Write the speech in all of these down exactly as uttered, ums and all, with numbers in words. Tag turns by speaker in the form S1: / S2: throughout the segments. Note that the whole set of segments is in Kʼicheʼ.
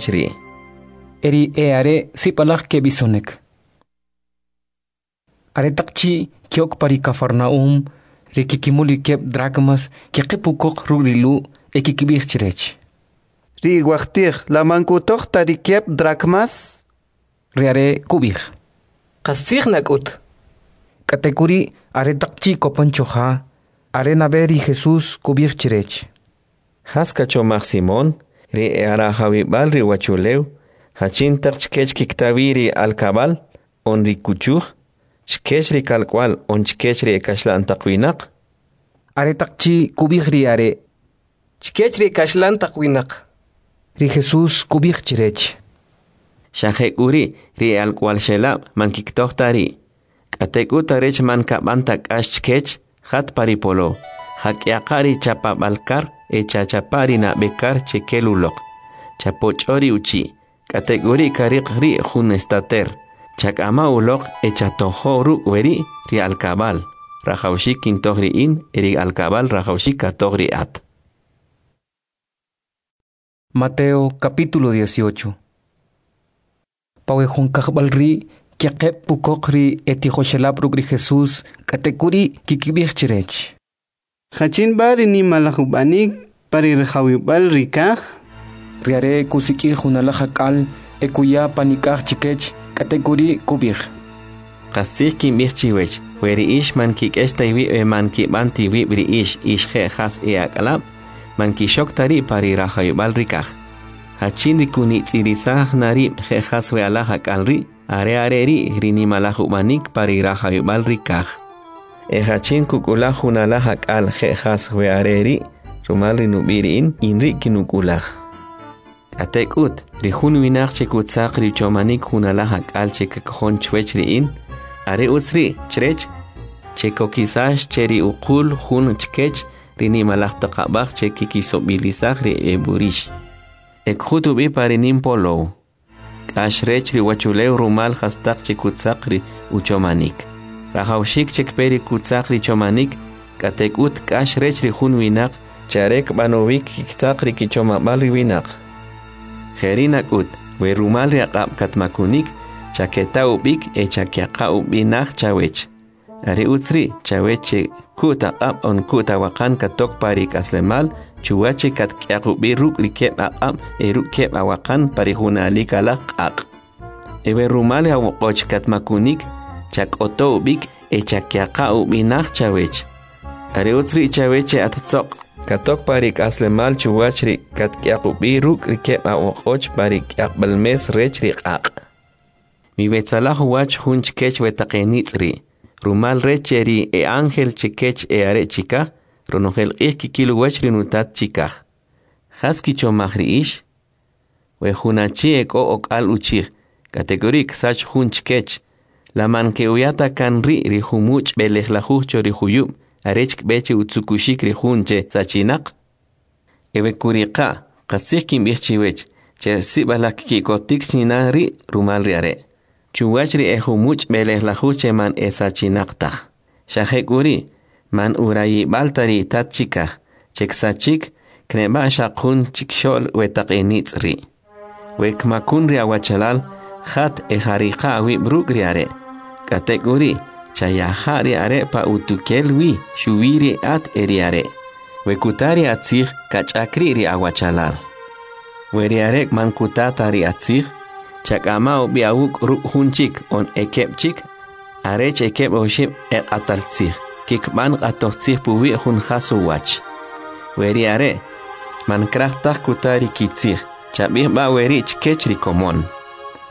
S1: Ri'.
S2: E ri e'are' sib'alaj keb'isonik. Aretaq chi' ke'ok pa ri Kafarna'um, ri kkimul ri keb' drakmas keqib' ukoq ruk' ri Lu' e kkib'ij chrech:
S3: Ri iwajtij, la man kutoj ta ri keb' drakmas?
S2: Ri are' kub'ij:
S4: Qastzij nak'ut.
S2: K'atek'uri', aretaq chi' kopan cho ja, are nab'e ri Jesus kub'ij chrech:
S1: Jas kachomaj Simon? Ri e'arajawib'al ri uwachulew, jachin taq chkech kikta wi ri alkab'al on ri kuchuj? Chkech ri kalk'uwa'l on chkech ri ekaxlan taq winaq?
S2: Aretaq chi' kub'ij ri are':
S4: Chkech ri ekaxlan taq winaq.
S2: Ri Jesus kub'ij chrech:
S1: Xa jek'uri' ri e'alk'uwa'lxelab' man kkitoj ta ri'. K'atek'ut arech man kab'an ta k'ax chkech, jat pa ri polow, ja'k'yaqa' ri chapab'al kar e chachapa' ri nab'e kar che kel uloq, chapoch'o ri uchi', k'atek'uri' kariq ri' jun estater. Chak'ama' uloq e chatojo' ruk' weri' ri alkab'al rajawaxik kintoj ri in e ri alkab'al rajawaxik katoj ri at.
S2: Mateo capítulo dieciocho. Pa we jun kajb'al ri' keqeb' ukoq ri etijoxelab' ruk' ri Jesus, k'atek'uri' kkib'ij chrech:
S3: Jachin b'a ri nimalaj ub'anik pa ri rajawib'al ri kaj?
S2: Ri are' kusik'ij jun alaj ak'al e kuya panik'aj chikech, k'atek'uri' kub'ij:
S1: Qastzij kinb'ij chiwech, we ri ix man kik'ex ta iwib' e man kib'an ta iwib' ri ix ix je' jas e'ak'alab', man kixok ta ri' pa ri rajawib'al ri kaj. Jachin ri kunitz'irisaj na rib' je' jas we alaj ak'al ri', are are ri' ri nimalaj ub'anik pa ri rajawib'al ri kaj. E jachin kuk'ulaj jun alaj ak'al je' jas we are ri', rumal ri nub'i' ri in, in ri' kinuk'ulaj. K'atek'ut, ri jun winaq che kutzaq ri uchomanik jun alaj ak'al che kkojon chwech ri in, are utz ri' chrech che kokisax che ri uqul jun chkech ri nimalaj taq ab'aj che kikisob'ilisaj ri eb'urix. E kjut ub'i pa ri nim polow. K'ax rech ri uwachulew rumal jastaq che kutzaq ri uchomanik. Rajawxik che kpe ri kutzaq ri chomanik, k'atek'ut k'ax rech ri jun winaq che are kb'anowik kkitzaq ri kichomab'al ri winaq. Jeri' nak'ut, we rumal ri aq'ab' katmakunik, chaketa ub'ik e chakyaqa' ub'i naj chawech. Are utz ri' chawech che ku't aq'ab' on ku't awaqan katok pa ri k'aslemal, chuwach che katk'yaq ub'i ruk' ri keb' aq'ab' e ruk' keb' awaqan pa ri junalik alaj q'aq'. E we rumal ri awoq'och katmakunik, chak'oto ub'ik e chakyaqa' ub'i naj chawech. Are utz ri' chawech che attzoq' katok pa ri k'aslemal chuwach ri katk'yaq ub'i ruk' ri keb' awoq'och pa ri k'yaqb'al mes rech ri q'aq'. Miwetzalaj uwach jun chkech we taq enitz' ri', rumal rech che ri e'ángel chekech e'are' chikaj, ronojel q'ij kikil uwach ri nutat chikaj. Jas kichomaj ri ix? We jun achi ek'o ok'al uchij, k'atek'uri' ksach jun chkech, la man ke'uya ta kan ri' ri jumuch' b'elejlajuj cho ri juyub' arech kb'e che utzukuxik ri jun che sachinaq? E we kuriqa', qastzij kinb'ij chiwech, che sib'alaj kki'kotik china ri' rumal ri are', chuwach ri ejumuch' b'elejlajuj che man esachinaq taj. Xa jek'uri', man urayib'al ta ri tat chikaj, che ksachik, kneb'a' xaq jun chikxo'l we taq enitz' ri'. We kmakun ri awachalal, jat e jariqa' awib' ruk' ri are'. K'atek'uri', chayaja' ri are' pa utukel wi, xuwi ri at e ri are'. We kuta ri atzij, kach'ak ri' ri awachalal. We ri are' man kuta ta ri atzij, chak'ama' ub'i awuk' ruk' jun chik on ekeb' chik, arech ekeb' oxib' eq'atal tzij, kikb'an q'atoj tzij puwi' jun jas uwach. We ri are' man kraj taj kuta ri kitzij, chab'ij b'a weri' chkech ri komon.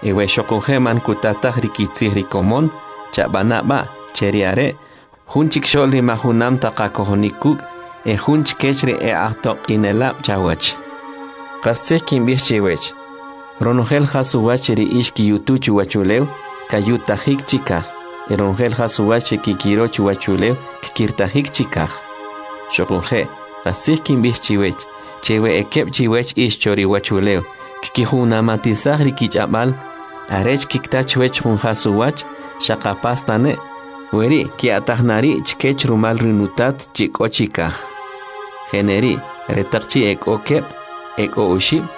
S1: E we xoquje' man kuta taj ri kitzij ri komon, chab'ana' b'a' che ri are' jun chikxo'l ri majunam taq qakojonik kuk' e jun chkech ri e'ajtoq'inelab' chawach. Qastzij kinb'ij chiwech, ronojel jas uwach ri ix kiyutu chuwachulew, kayutajik chikaj, e ronojel jas uwach che kikiro chuwachulew, kkirtajik chikaj. Xoquje', qastzij kinb'ij chiwech, che we ekeb' chiwech ix cho ri uwachulew, kkijunamatisaj ri kich'ab'al, arech kikta chwech jun jas uwach, xaqapas tane', weri' ki'ataj na ri' chkech rumal ri nutat chi k'o chikaj. Jeneri', aretaq chi' ek'o keb', ek'o oxib',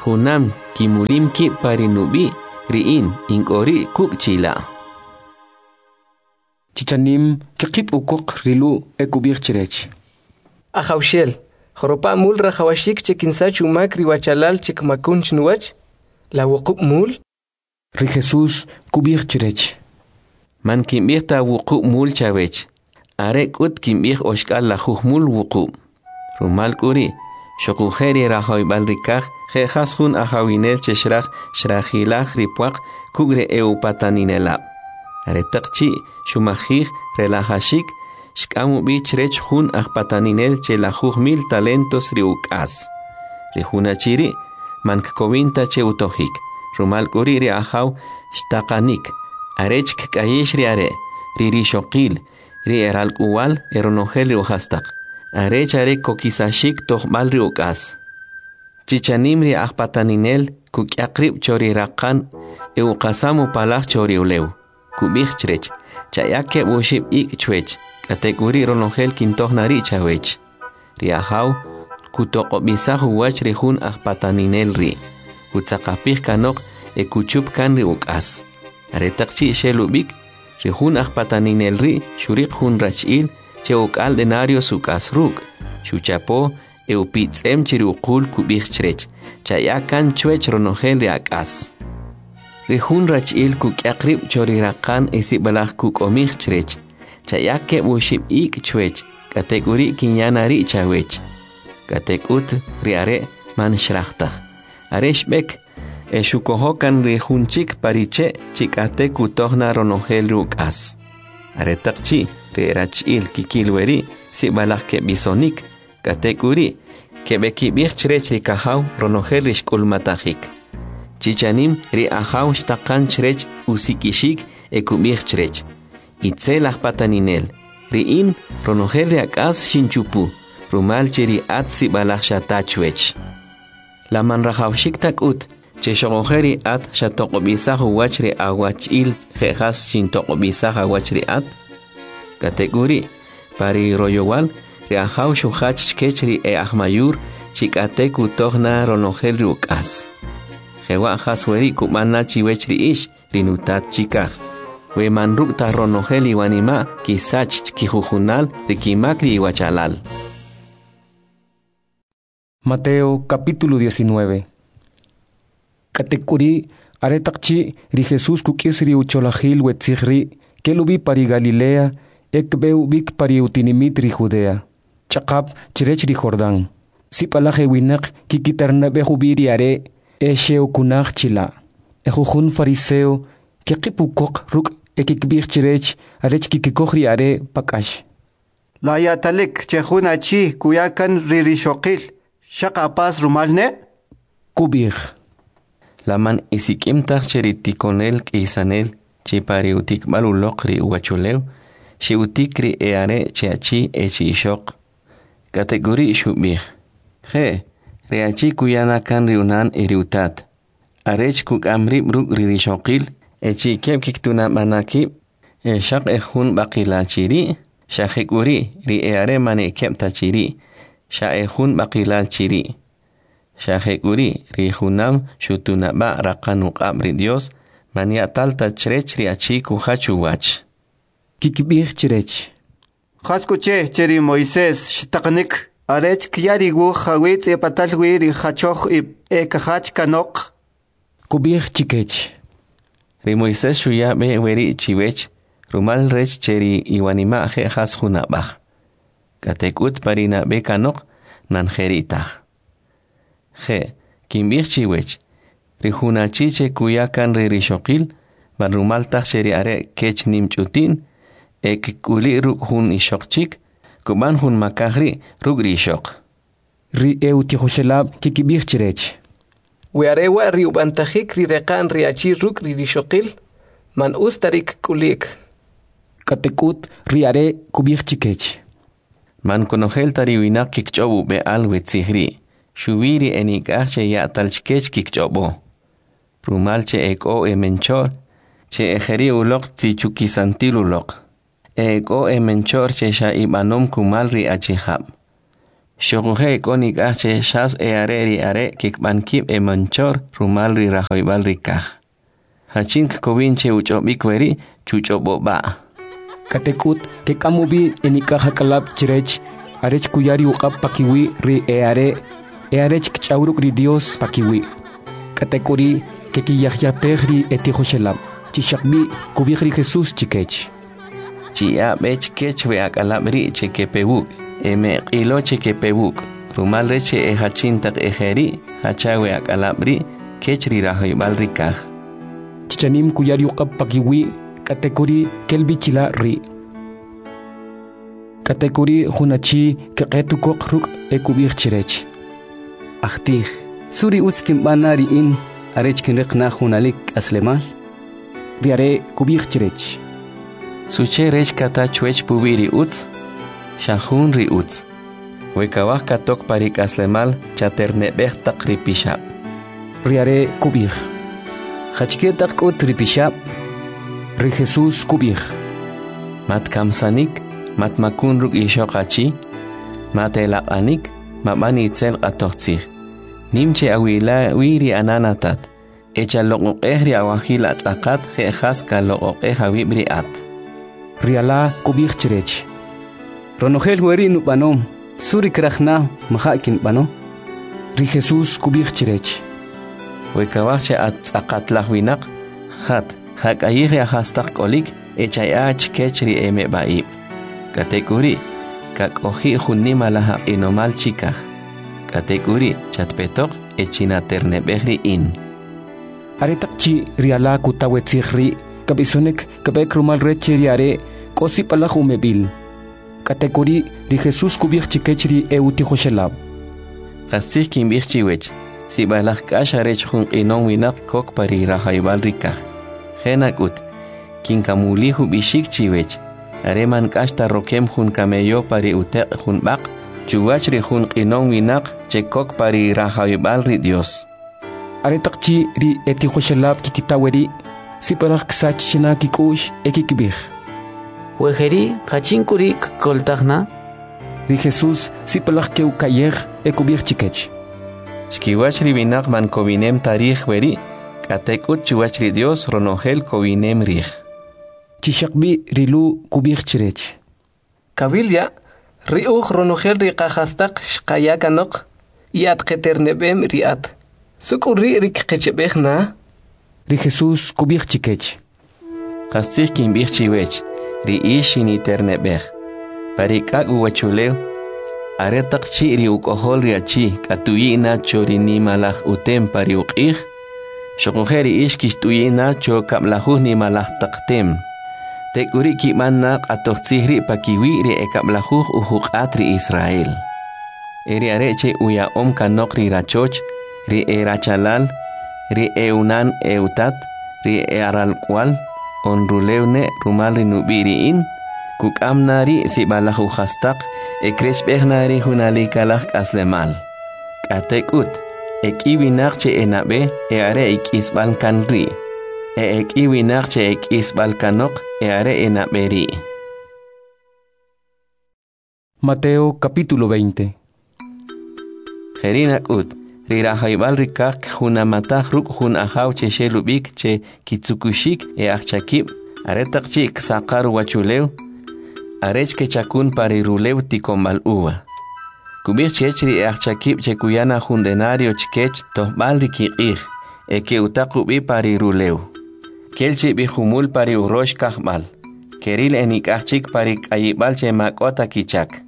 S1: junam kimulim kib' pa ri nub'i', ri in, in k'o ri' kuk' chila'.
S2: Chi chanim kqib' ukoq ri Lu' e kub'ij chrech:
S4: Ajawxel, joropa' mul rajawaxik che kinsach umak ri wachalal che kmakun chnuwach? La wuqub' mul?
S2: Ri Jesus kub'ij chrech:
S1: Man kinb'ij ta wuqub' mul chawech, are k'ut kinb'ij oxk'al lajuj mul wuqub'. Rumal k'uri', xoquje' ri rajawib'al ri kaj je' jas jun ajawinel che xraj xrajilaj ri pwaq kuk' ri e'upataninelab'. Aretaq chi' xumajij relajaxik, xk'am ub'i chrech jun ajpataninel che lajuj mil talentos ri uk'as. Ri jun achi ri' man kkowin ta che utojik, rumal k'uri' ri ajaw xtaqanik, arech kk'ayix ri are', ri rixoqil, ri eralk'uwa'l e ronojel ri ujastaq, arech are kokisaxik tojb'al ri uk'as. Chi chanim ri ajpataninel kuk'yaq rib' cho ri raqan e uqasam upalaj cho ri ulew. Kub'ij chrech: Chaya keb' oxib' ik' chwech, k'atek'uri' ronojel kintoj na ri' chawech. Ri ajaw kutoq'ob'isaj uwach ri jun ajpataninel ri', kutzaqapij kanoq e kuchup kan ri uk'as. Aretaq chi' xel ub'ik, ri jun ajpataninel ri' xuriq jun rachi'l che ok'al denarios uk'as ruk', xuchapo e upitz'em chi ri uqul kub'ij chrech: Chaya kan chwech ronojel ri ak'as. Ri jun rachi'l kuk'yaq rib' cho ri raqan e sib'alaj kuk'omij chrech: Chaya keb' oxib' ik' chwech, k'atek'uri' kinya na ri' chawech. K'atek'ut ri are' man xraj taj. Are xb'ek e xukojo kan ri jun chik pa ri che' chi k'ate kutoj na ronojel ri uk'as. Aretaq chi' ri erachi'l kikil weri' sib'alaj keb'isonik, k'atek'uri' keb'ekib'ij chrech ri kajaw ronojel ri xk'ulmatajik. Chi chanim ri ajaw xtaqan chrech usik'ixik e kub'ij chrech: Itzel ajpataninel, ri in ronojel ri ak'as xinchupu, rumal che ri at sib'alaj xata chwech. La man rajawaxik ta k'ut che xoquje' ri at xatoq'ob'isaj uwach ri awachi'l je' jas xintoq'ob'isaj awach ri at? K'atek'uri', pa ri royowal, ri ajaw xujach chkech ri e'ajmayur chi k'ate kutoj na ronojel ri uk'as. Jewa' jas weri' kub'an na chiwech ri ix, ri nutat chikaj, we man ruk' ta ronojel iwanima' kisach chkijujunal ri kimak ri iwachalal.
S2: Mateo capítulo diecinueve. K'atek'uri' aretaq chi' ri Jesus kuk'is ri ucholajil we tzij ri', kel ub'i pa ri Galilea e kb'e ub'ik pa ri utinimit ri Judea, ch'aqap chrech ri Jordán. Sib'alaj ewinaq kikitarnab'ej ub'i ri are' e xe'ukunaj chila'. Ejujun fariseo keqib' ukoq ruk' e kikib'ij chrech arech kikikoj ri are' pa k'ax.
S5: La ya'talik che jun achi kuya kan ri rixoqil xaq apas rumal ne'?
S2: Kub'ij:
S1: La man isik'im taj che ri tikonel k'iysanel chi pa ri utikb'al uloq ri uwachulew, xe'utik ri e'are' chi achi e chi ixoq? K'atek'uri' xub'ij: Je', ri achi kuya na kan ri unan e ri utat, arech kuk'am rib' ruk' ri rixoqil e chi keb' kiktunab'ana kib' e xaq ejun b'aqilal chi ri', xa jek'uri' ri e'are' man ekeb' ta chi ri', xa ejun b'aqilal chi ri'. Xa jek'uri' ri junam xutunab'a' raqan uq'ab' ri Dyos, man ya'tal ta chrech ri achi kujach uwach.
S2: Kikib'ij chrech:
S5: Jas k'u che che ri Moisés xtaqanik arech kya ri wuj jawi' tz'ib'atal wi ri jachoj ib' e kajach kanoq?
S2: Kub'ij chikech:
S1: Ri Moisés xuya b'e weri' chiwech, rumal rech che ri iwanima' je' jas jun ab'aj. K'atek'ut pa ri nab'e kanoq man jeri' taj. Je', kinb'ij chiwech, ri jun achi che kuya kan ri rixoqil, man rumal taj che ri are' kech nim ch'uti'n, e kk'uli' ruk' jun ixoq chik, kub'an jun makaj ri' ruk' ri ixoq.
S2: Ri e'utijoxelab' kikib'ij chrech:
S4: We are wa' ri ub'antajik ri reqa'n ri achi ruk' ri rixoqil, man utz ta ri' kk'uli'k.
S2: K'atek'ut ri are' kub'ij chikech:
S1: Man konojel ta ri winaq kikch'ob' ub'e'al we tzij ri', xuwi ri enik'aj che ya'tal chkech kikch'ob'o. Rumal che ek'o emencho'r che ejeri' uloq tzichukisantil uloq, e ek'o emencho'r che xa ib'anom kumal ri achijab'. Xoquje' ek'o nik'aj che xas e'are ri are' kikb'an kib' emencho'r rumal ri rajawib'al ri kaj. Jachin kkowin che uch'ob'ik weri', chuch'ob'o b'a'.
S2: K'atek'ut kek'am ub'i enik'aj ak'alab' chrech arech kuya ri uq'ab' pakiwi' ri e'are' e arech kch'aw ruk' ri Dyos pakiwi'. K'atek'uri' kekiyajyatej ri etijoxelab'. Chi xaqb'i' kub'ij ri Jesus chkech:
S1: Chiya'a b'e chkech we ak'alab' ri' che kepe wuk', e me'q'ilo che kepe wuk', rumal rech che ejachin taq ejeri' jacha we ak'alab' ri' kech ri rajawib'al ri kaj.
S2: Chi chanim kuya ri uq'ab' pakiwi', k'atek'uri' kel b'i chila' ri'. K'atek'uri' jun achi kqet ukoq ruk' e kub'ij chrech:
S3: Ajtij, ¿su ri utz kinb'an na ri in arech kinriq na junalik k'aslemal?
S2: Ri are' kub'ij chrech:
S1: Suche rech kata chwech puwi' ri utz? Xa jun ri utz. We kawaj katok pa ri k'aslemal, chaterne'b'ej taq ri pixab'.
S2: Ri are' kub'ij:
S3: Jachike taq k'ut ri pixab'?
S2: Ri Jesus kub'ij:
S1: Matkamsanik, matmakun ruk' ixoq achi, matelaq'anik, mab'an itzel q'atoj tzij. Nim che'awila wi ri anan atat, e chaloq'oq'ej ri awajil atz'aqat je' jas kaloq'oq'ej awib' ri at.
S2: Ri ala kub'ij chrech:
S3: Ronojel weri' nub'anom, ¿su ri kraj na maja' kinb'ano?
S2: Ri Jesus kub'ij chrech:
S1: We kawaj che at tz'aqatlaj winaq, jat, ja'k'ayij ri ajastaq k'olik e chaya'a chkech ri emeb'a'ib'. K'atek'uri', kak'oji' jun nimalaj aq'inomal chikaj. K'atek'uri', chatpetoq e chinaterne'b'ej ri in.
S2: Aretaq chi' ri ala kuta we tzij ri', kab'isonik kb'ek rumal rech che ri are' k'o sib'alaj umeb'il. K'atek'uri' ri Jesus kub'ij chkech ri e'utijoxelab':
S1: Qastzij kinb'ij chiwech, sib'alaj k'ax arech jun q'inom winaq kok pa ri rajawib'al ri kaj. Je' nak'ut, kinkamulij ub'ixik chiwech, are man k'ax ta rokem jun kameyo pa ri uteq' jun b'aq, chuwach ri jun q'inom winaq che kok pa ri rajawib'al ri Dyos.
S2: Aretaq chi' ri etijoxelab' kikita weri', sib'alaj ksach china kik'u'x e kikib'ij:
S6: We jeri', jachin k'u ri' kkoltaj na?
S2: Ri Jesus sib'alaj ke'uka'yej e kub'ij chkech:
S1: Chkiwach ri winaq man kowinem ta rij weri', k'atek'ut chuwach ri Dyos ronojel kowinem rij.
S2: Chi xaqb'i' ri Lu' kub'ij chrech:
S4: Kawil ya', ri uj ronojel ri qajastaq xqaya kanoq, y at qeterne'b'em ri at. ¿Su k'u ri' ri kqechb'ej na?
S2: Ri Jesus kub'ij chkech:
S1: Qastzij kinb'ij chiwech, ri ix xiniterne'b'ej. Pa ri k'ak' uwachulew, aretaq chi' ri uk'ojol ri achi katuyi' na cho ri nimalaj utem pa ri uq'ij, xoquje' ri ix kixt'uyi' na cho kab'lajuj nimalaj taq tem. Tek'uri' kib'an na q'atoj tzij ri' pakiwi' ri e kab'lajuj ujuq'at ri Israel. E ri are' che uya'om kanoq ri rachoch, ri e rachalal, ri e'unan e'utat, ri e'aralk'uwal, on rulew ne' rumal ri nub'i' ri in, kuk'am na ri' sib'alaj ujastaq e krechb'ej na ri junalikalaj k'aslemal. K'atek'ut, ek'i winaq che enab'e e are ek'isb'al kan ri', e ek'i winaq che ek'isb'al kanoq e are enab'e ri'.
S2: Mateo capítulo veinte.
S1: Jeri' nak'ut, ri rajawib'al ri kaj kjunamataj ruk' jun ajaw che xel ub'ik che kitzukuxik e ajchakib' aretaq chi' ksaqar uwachulew, arech kechakun pa ri rulew tiko'nb'al uva. Kub'ij chkech ri e ajchakib' che kuya na jun denario chkech tojb'al ri kiq'ij, e ke'utaq ub'i pa ri rulew. Kel chi b'i jumul pa ri urox kajb'al, keril e nik'aj chik pa ri k'ayib'al che ma k'o ta kichak.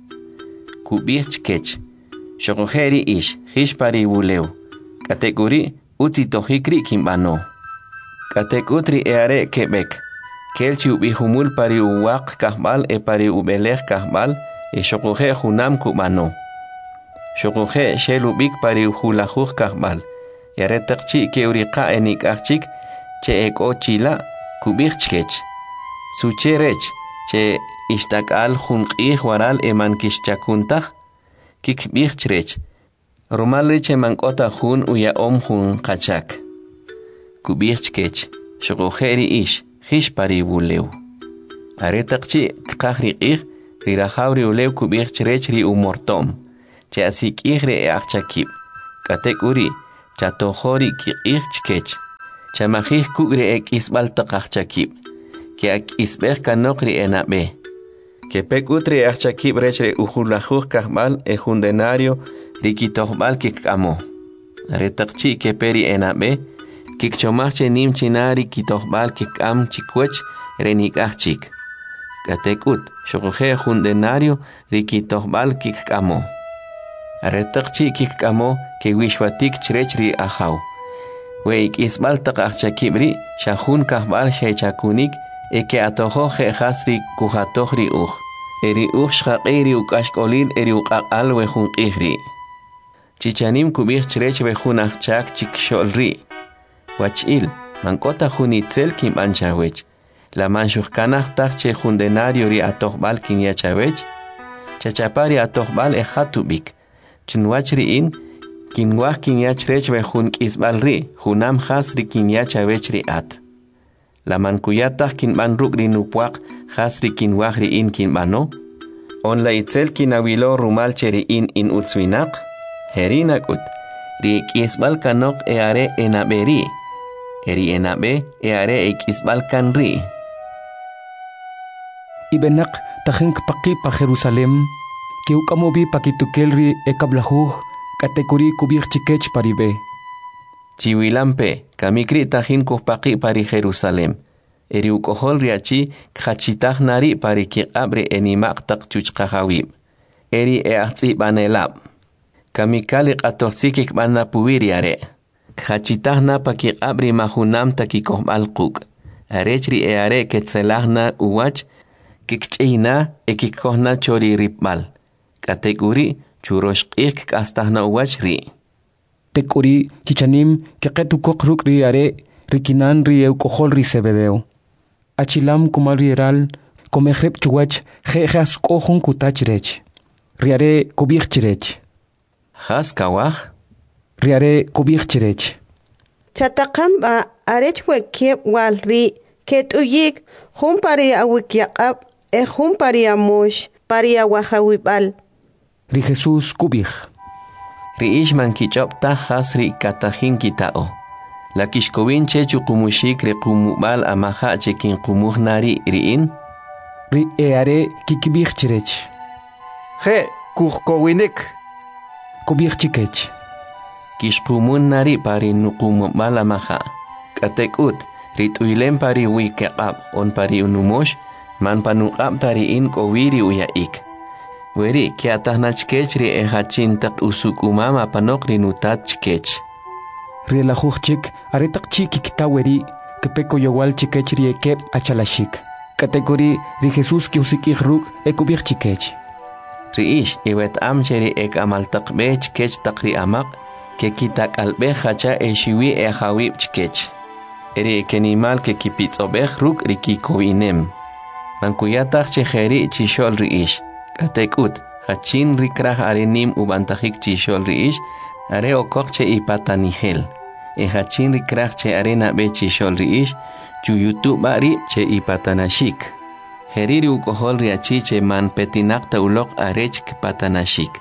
S1: Kub'ij chkech: Xoquje' ri ix, jix pa ri wulew, k'atek'uri' utz itojik ri' kinb'ano. K'atek'ut ri e'are' keb'ek, kel chi ub'i jumul pa ri uwaq kajb'al e pa ri ub'elej kajb'al e xoquje' junam kub'ano. Xoquje' xel ub'ik pa ri julajuj kajb'al, e aretaq chi' ke'uriqa' e nik'aj chik che ek'o chila', kub'ij chkech: Suche rech che ixtak'al jun q'ij waral e man kixchakun taj? Kikb'ij chrech: Rumal rech che man k'o ta jun uya'om jun qachak. Kub'ij chkech: Xoquje' ri ix, jix pa ri wulew. Aretaq chi' kqaj ri q'ij, ri rajaw ri ulew kub'ij chrech ri umorto'm: Che'asik'ij ri e'ajchakib', k'atek'uri' chatojo ri kiq'ij chkech. Chamajij kuk' ri ek'isb'al taq ajchakib', ke'ak'isb'ej kanoq ri enab'e. Kepe k'ut ri e'ajchakib' rech ri ujulajuj kajb'al e jun denario ri kitojb'al kkik'amo. Aretaq chi' kepe ri enab'e, kkichomaj che nim chi na ri kitojb'al kkik'am chkiwach ri enik'aj chik. K'atek'ut, xoquje' jun denario ri kitojb'al kkik'amo. Aretaq chi' kkik'amo, kewixwatik chrech ri ajaw. We ek'isb'al taq ajchakib' ri' xa jun kajb'al xechakunik e ke'atojo je' jas ri kujatoj ri uj. E ri uj xqaq'i ri uk'axk'olil e ri uq'aq'al we jun q'ij ri'. Chi chanim kub'ij chrech we jun ajchak chikxo'l ri': Wach'il, man k'o ta jun itzel kinb'an chawech. La man xujkanaj taj che jun denario ri atojb'al kinya chawech? Chachapa' ri atojb'al e jat ub'ik. Chnuwach ri in, kinwaj kinya chrech we jun k'isb'al ri' junam jas ri kinya chawech ri at. La man kuya taj kinb'an ruk' ri nupwaq jas ri kinwaj ri in kinb'ano? On la itzel kinawilo rumal che ri in in utz winaq? Jeri' nak'ut, ri ek'isb'al kanoq e'are enab'e ri', e ri enab'e e'are ek'isb'al kan ri'.
S2: Ib'enaq tajin kpaqi' pa Jerusalem, ke'uk'am ub'i pa kitukel ri ekab'lajuj, k'atek'uri' kub'ij chkech pa ri b'e.
S1: Chiwilampe', kamik ri' tajin kujpaqi' pa ri Jerusalem, e ri uk'ojol ri achi kjachitaj na ri' pa ri kiq'ab' ri enima'q taq chuchqajawib', e ri e'ajtz'ib'anelab'. Kamikal ri q'atojtzij kkib'an na puwi' ri are'. Kjachitaj na pa kiq'ab' ri ma junam ta kikojb'al quk', arech ri e'are' ketzelaj na uwach, kkich'iy na e kkikoj na cho ri ripb'al. K'atek'uri', churox q'ij kk'astaj na uwach ri'.
S2: Tek'uri' chi chanim keqet ukoq ruk' ri are' ri kinan ri e'uk'ojol ri Zebedeo. Achilam kumal ri eral, komej rib' chuwach je' jas k'o jun kuta chrech. Ri are' kub'ij chrech:
S1: Jas kawaj?
S2: Ri are' kub'ij chrech:
S7: Chataqan b'a' arech we keb' wal ri' ket'uyi'k, jun pa ri awikyaq'ab' e jun pa ri amox, pa ri awajawib'al.
S2: Ri Jesús kub'ij:
S1: Ri ix man kich'ob' taj jas ri katajin kita'o. La kixkowin chech uqumuxik ri qumub'al amaja' che kinqumuj na ri' ri in?
S2: Ri e'are' kikib'ij chrech:
S5: Je', kujkowinik.
S2: Kub'ij chkech:
S1: Kixqumun na ri' pa ri nuqumub'al amaja'. K'atek'ut, ri t'uylem pa ri wikiq'ab' on pa ri numox, man pa nuq'ab' ta ri in k'o wi ri uya'ik. Weri' kya'taj na chkech ri ejachin taq usuk'umam apanoq ri nutat chkech.
S2: Ri elajuj chik, aretaq chi' kikita weri', kepe koyowal chkech ri ekeb' achalaxik. K'atek'uri' ri Jesús ke'usik'ij ruk' e kub'ij chkech:
S1: Ri ix iweta'am che ri ek'amal taq b'e chkech taq ri amaq' kekitak'alb'ej jacha exiwi e'ajawib' chkech. E ri ekenimal kekipitz'ob'ej ruk' ri kikowinem. Man kuya taj che jeri' chixo'l ri ix. K'atek'ut, jachin ri kraj are nim ub'antajik chixo'l ri ix, are okoq che ipatanijel. E jachin ri kraj che are nab'e chixo'l ri ix, chuyutu b'a rib' che ipatanaxik. Jeri' ri uk'ojol ri achi che man petinaq ta uloq arech kpatanaxik.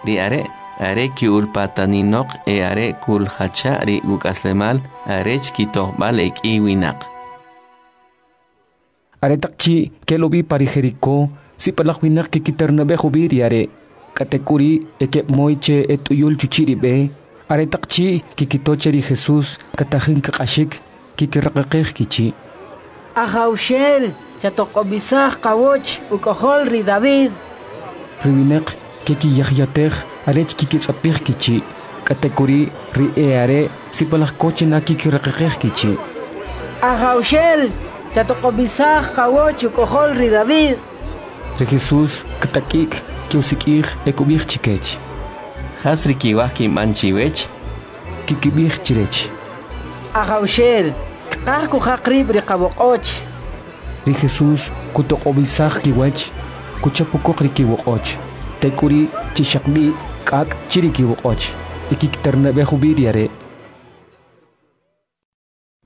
S1: Ri are' are ki'ulpataninoq e are kuljacha' ri uk'aslemal arech kitojb'al ek'i winaq.
S2: Aretaq chi' kel ub'i pa ri Jeriko, sib'alaj winaq kikiternab'ej ub'i ri are'. K'atek'uri' ekeb' moy che et'uyul chuchi' ri b'e, aretaq chi' kikito che ri Jesús katajin kq'axik, kikiraqaqej kichi':
S8: Ajawxel, chatoq'ob'isaj qawach, uk'ojol ri David.
S2: Ri winaq kekiyajyatej arech kikitz'apij kichi'. K'atek'uri' ri e'are' sib'alaj ko china kikiraqaqej kichi':
S8: Ajawxel, chatoq'ob'isaj qawach, uk'ojol ri David.
S2: Ri Jesús ktak'i'k, ke'usik'ij e kub'ij chkech:
S1: Jas ri kiwaj kinb'an chiwech?
S2: Kikib'ij chrech:
S8: Ajawxel, kqaj kujaq rib' ri qawoq'och.
S2: Ri Jesús kutoq'ob'isaj kiwach, kuchap ukoq ri kiwoq'och. Tek'uri' chi xaqb'i' k'ak' chi ri kiwoq'och e kikiternab'ej ub'i ri are'.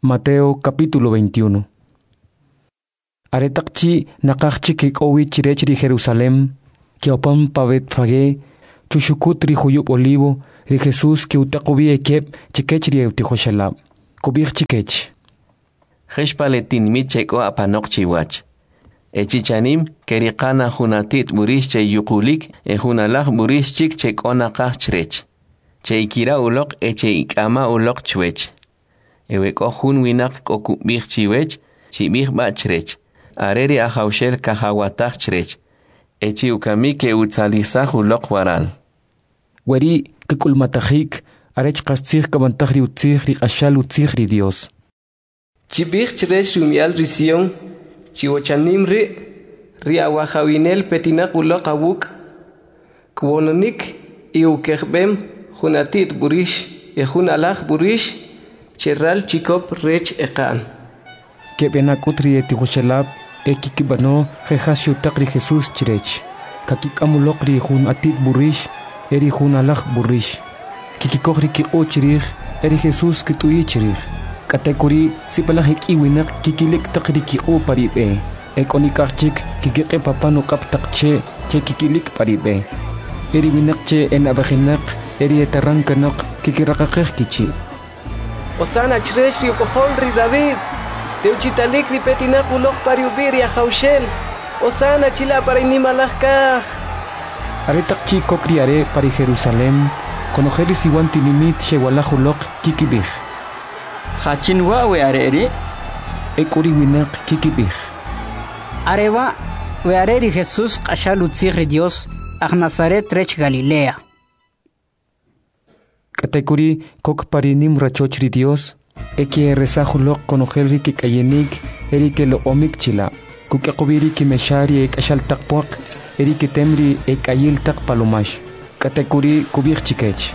S2: Mateo capítulo veintiuno. Aretaq chi' naqaj chik kek'o wi chrech ri Jerusalem, ke'opan pa Betfagé, Chuxukut ri juyub' Olivo, ri Jesus ke'utaq ub'i ekeb' chkech ri e'utijoxelab'. Kub'ij chkech:
S1: Jix pa le tinimit che k'o apanoq chiwach. E chi chanim ke'riqa na jun ati't b'urix che yuqulik e jun alaj b'urix chik che k'o naqaj chrech. Che'ikira' uloq e che'ik'ama' uloq chwech. E we k'o jun winaq k'o kub'ij chiwech, chib'ij b'a' chrech: Are ri Ajawxel kajawataj chrech, e chi ukamik ke'utzalisaj uloq waral.
S2: Weri' kk'ulmatajik arech qastzij kab'antaj ri utzij ri q'axal utzij ri Dyos.
S4: Chib'ij chrech ri umi'al ri Sion, chi wachanim ri', ri awajawinel petinaq uloq awuk', kwononik y ukejb'em jun ati't b'urix e jun alaj b'urix che ral chikop rech eqa'n.
S2: Keb'e na k'ut ri etijoxelab' e kkib'ano je' jas xutaq ri Jesus chrech. Kakik'am uloq ri jun ati't b'urix e ri jun alaj b'urix. Kkikoj ri kiq'u' chrij e ri Jesus kt'uyi' chrij. K'atek'uri' sib'alaj ek'i winaq kikilik' taq ri kiq'u' pa ri b'e, e k'o nik'aj chik kkiq'ip apan uq'ab' taq che' che kikilik' pa ri b'e. E ri winaq che enab'ejinaq e ri eteran kanoq kkiraqaqej kichi':
S4: Hosana chrech ri uk'ojol ri David! Tewchi'talik ri petinaq uloq pa ri ub'i' ri Ajawxel! Hosana chila' pa ri nimalaj kaj!
S2: Aretaq chi' kok ri are' pa ri Jerusalem, konojel ri siwan tinimit xewa'laj uloq, kikib'ij:
S9: Jachin wa' we are' ri'?
S2: E k'u ri winaq kikib'ij:
S8: Are wa' we are' ri Jesus q'axal utzij ri Dyos, aj Nazaret rech Galilea.
S2: K'atek'uri' kok pa ri nim rachoch ri Dyos e ke'eresaj uloq konojel ri kek'ayinik e ri keloq'omik chila'. Kuk'yaq ub'i ri kimexa ri ek'axal taq pwaq e ri kitem ri ek'ayil taq palomax. K'atek'uri' kub'ij chkech: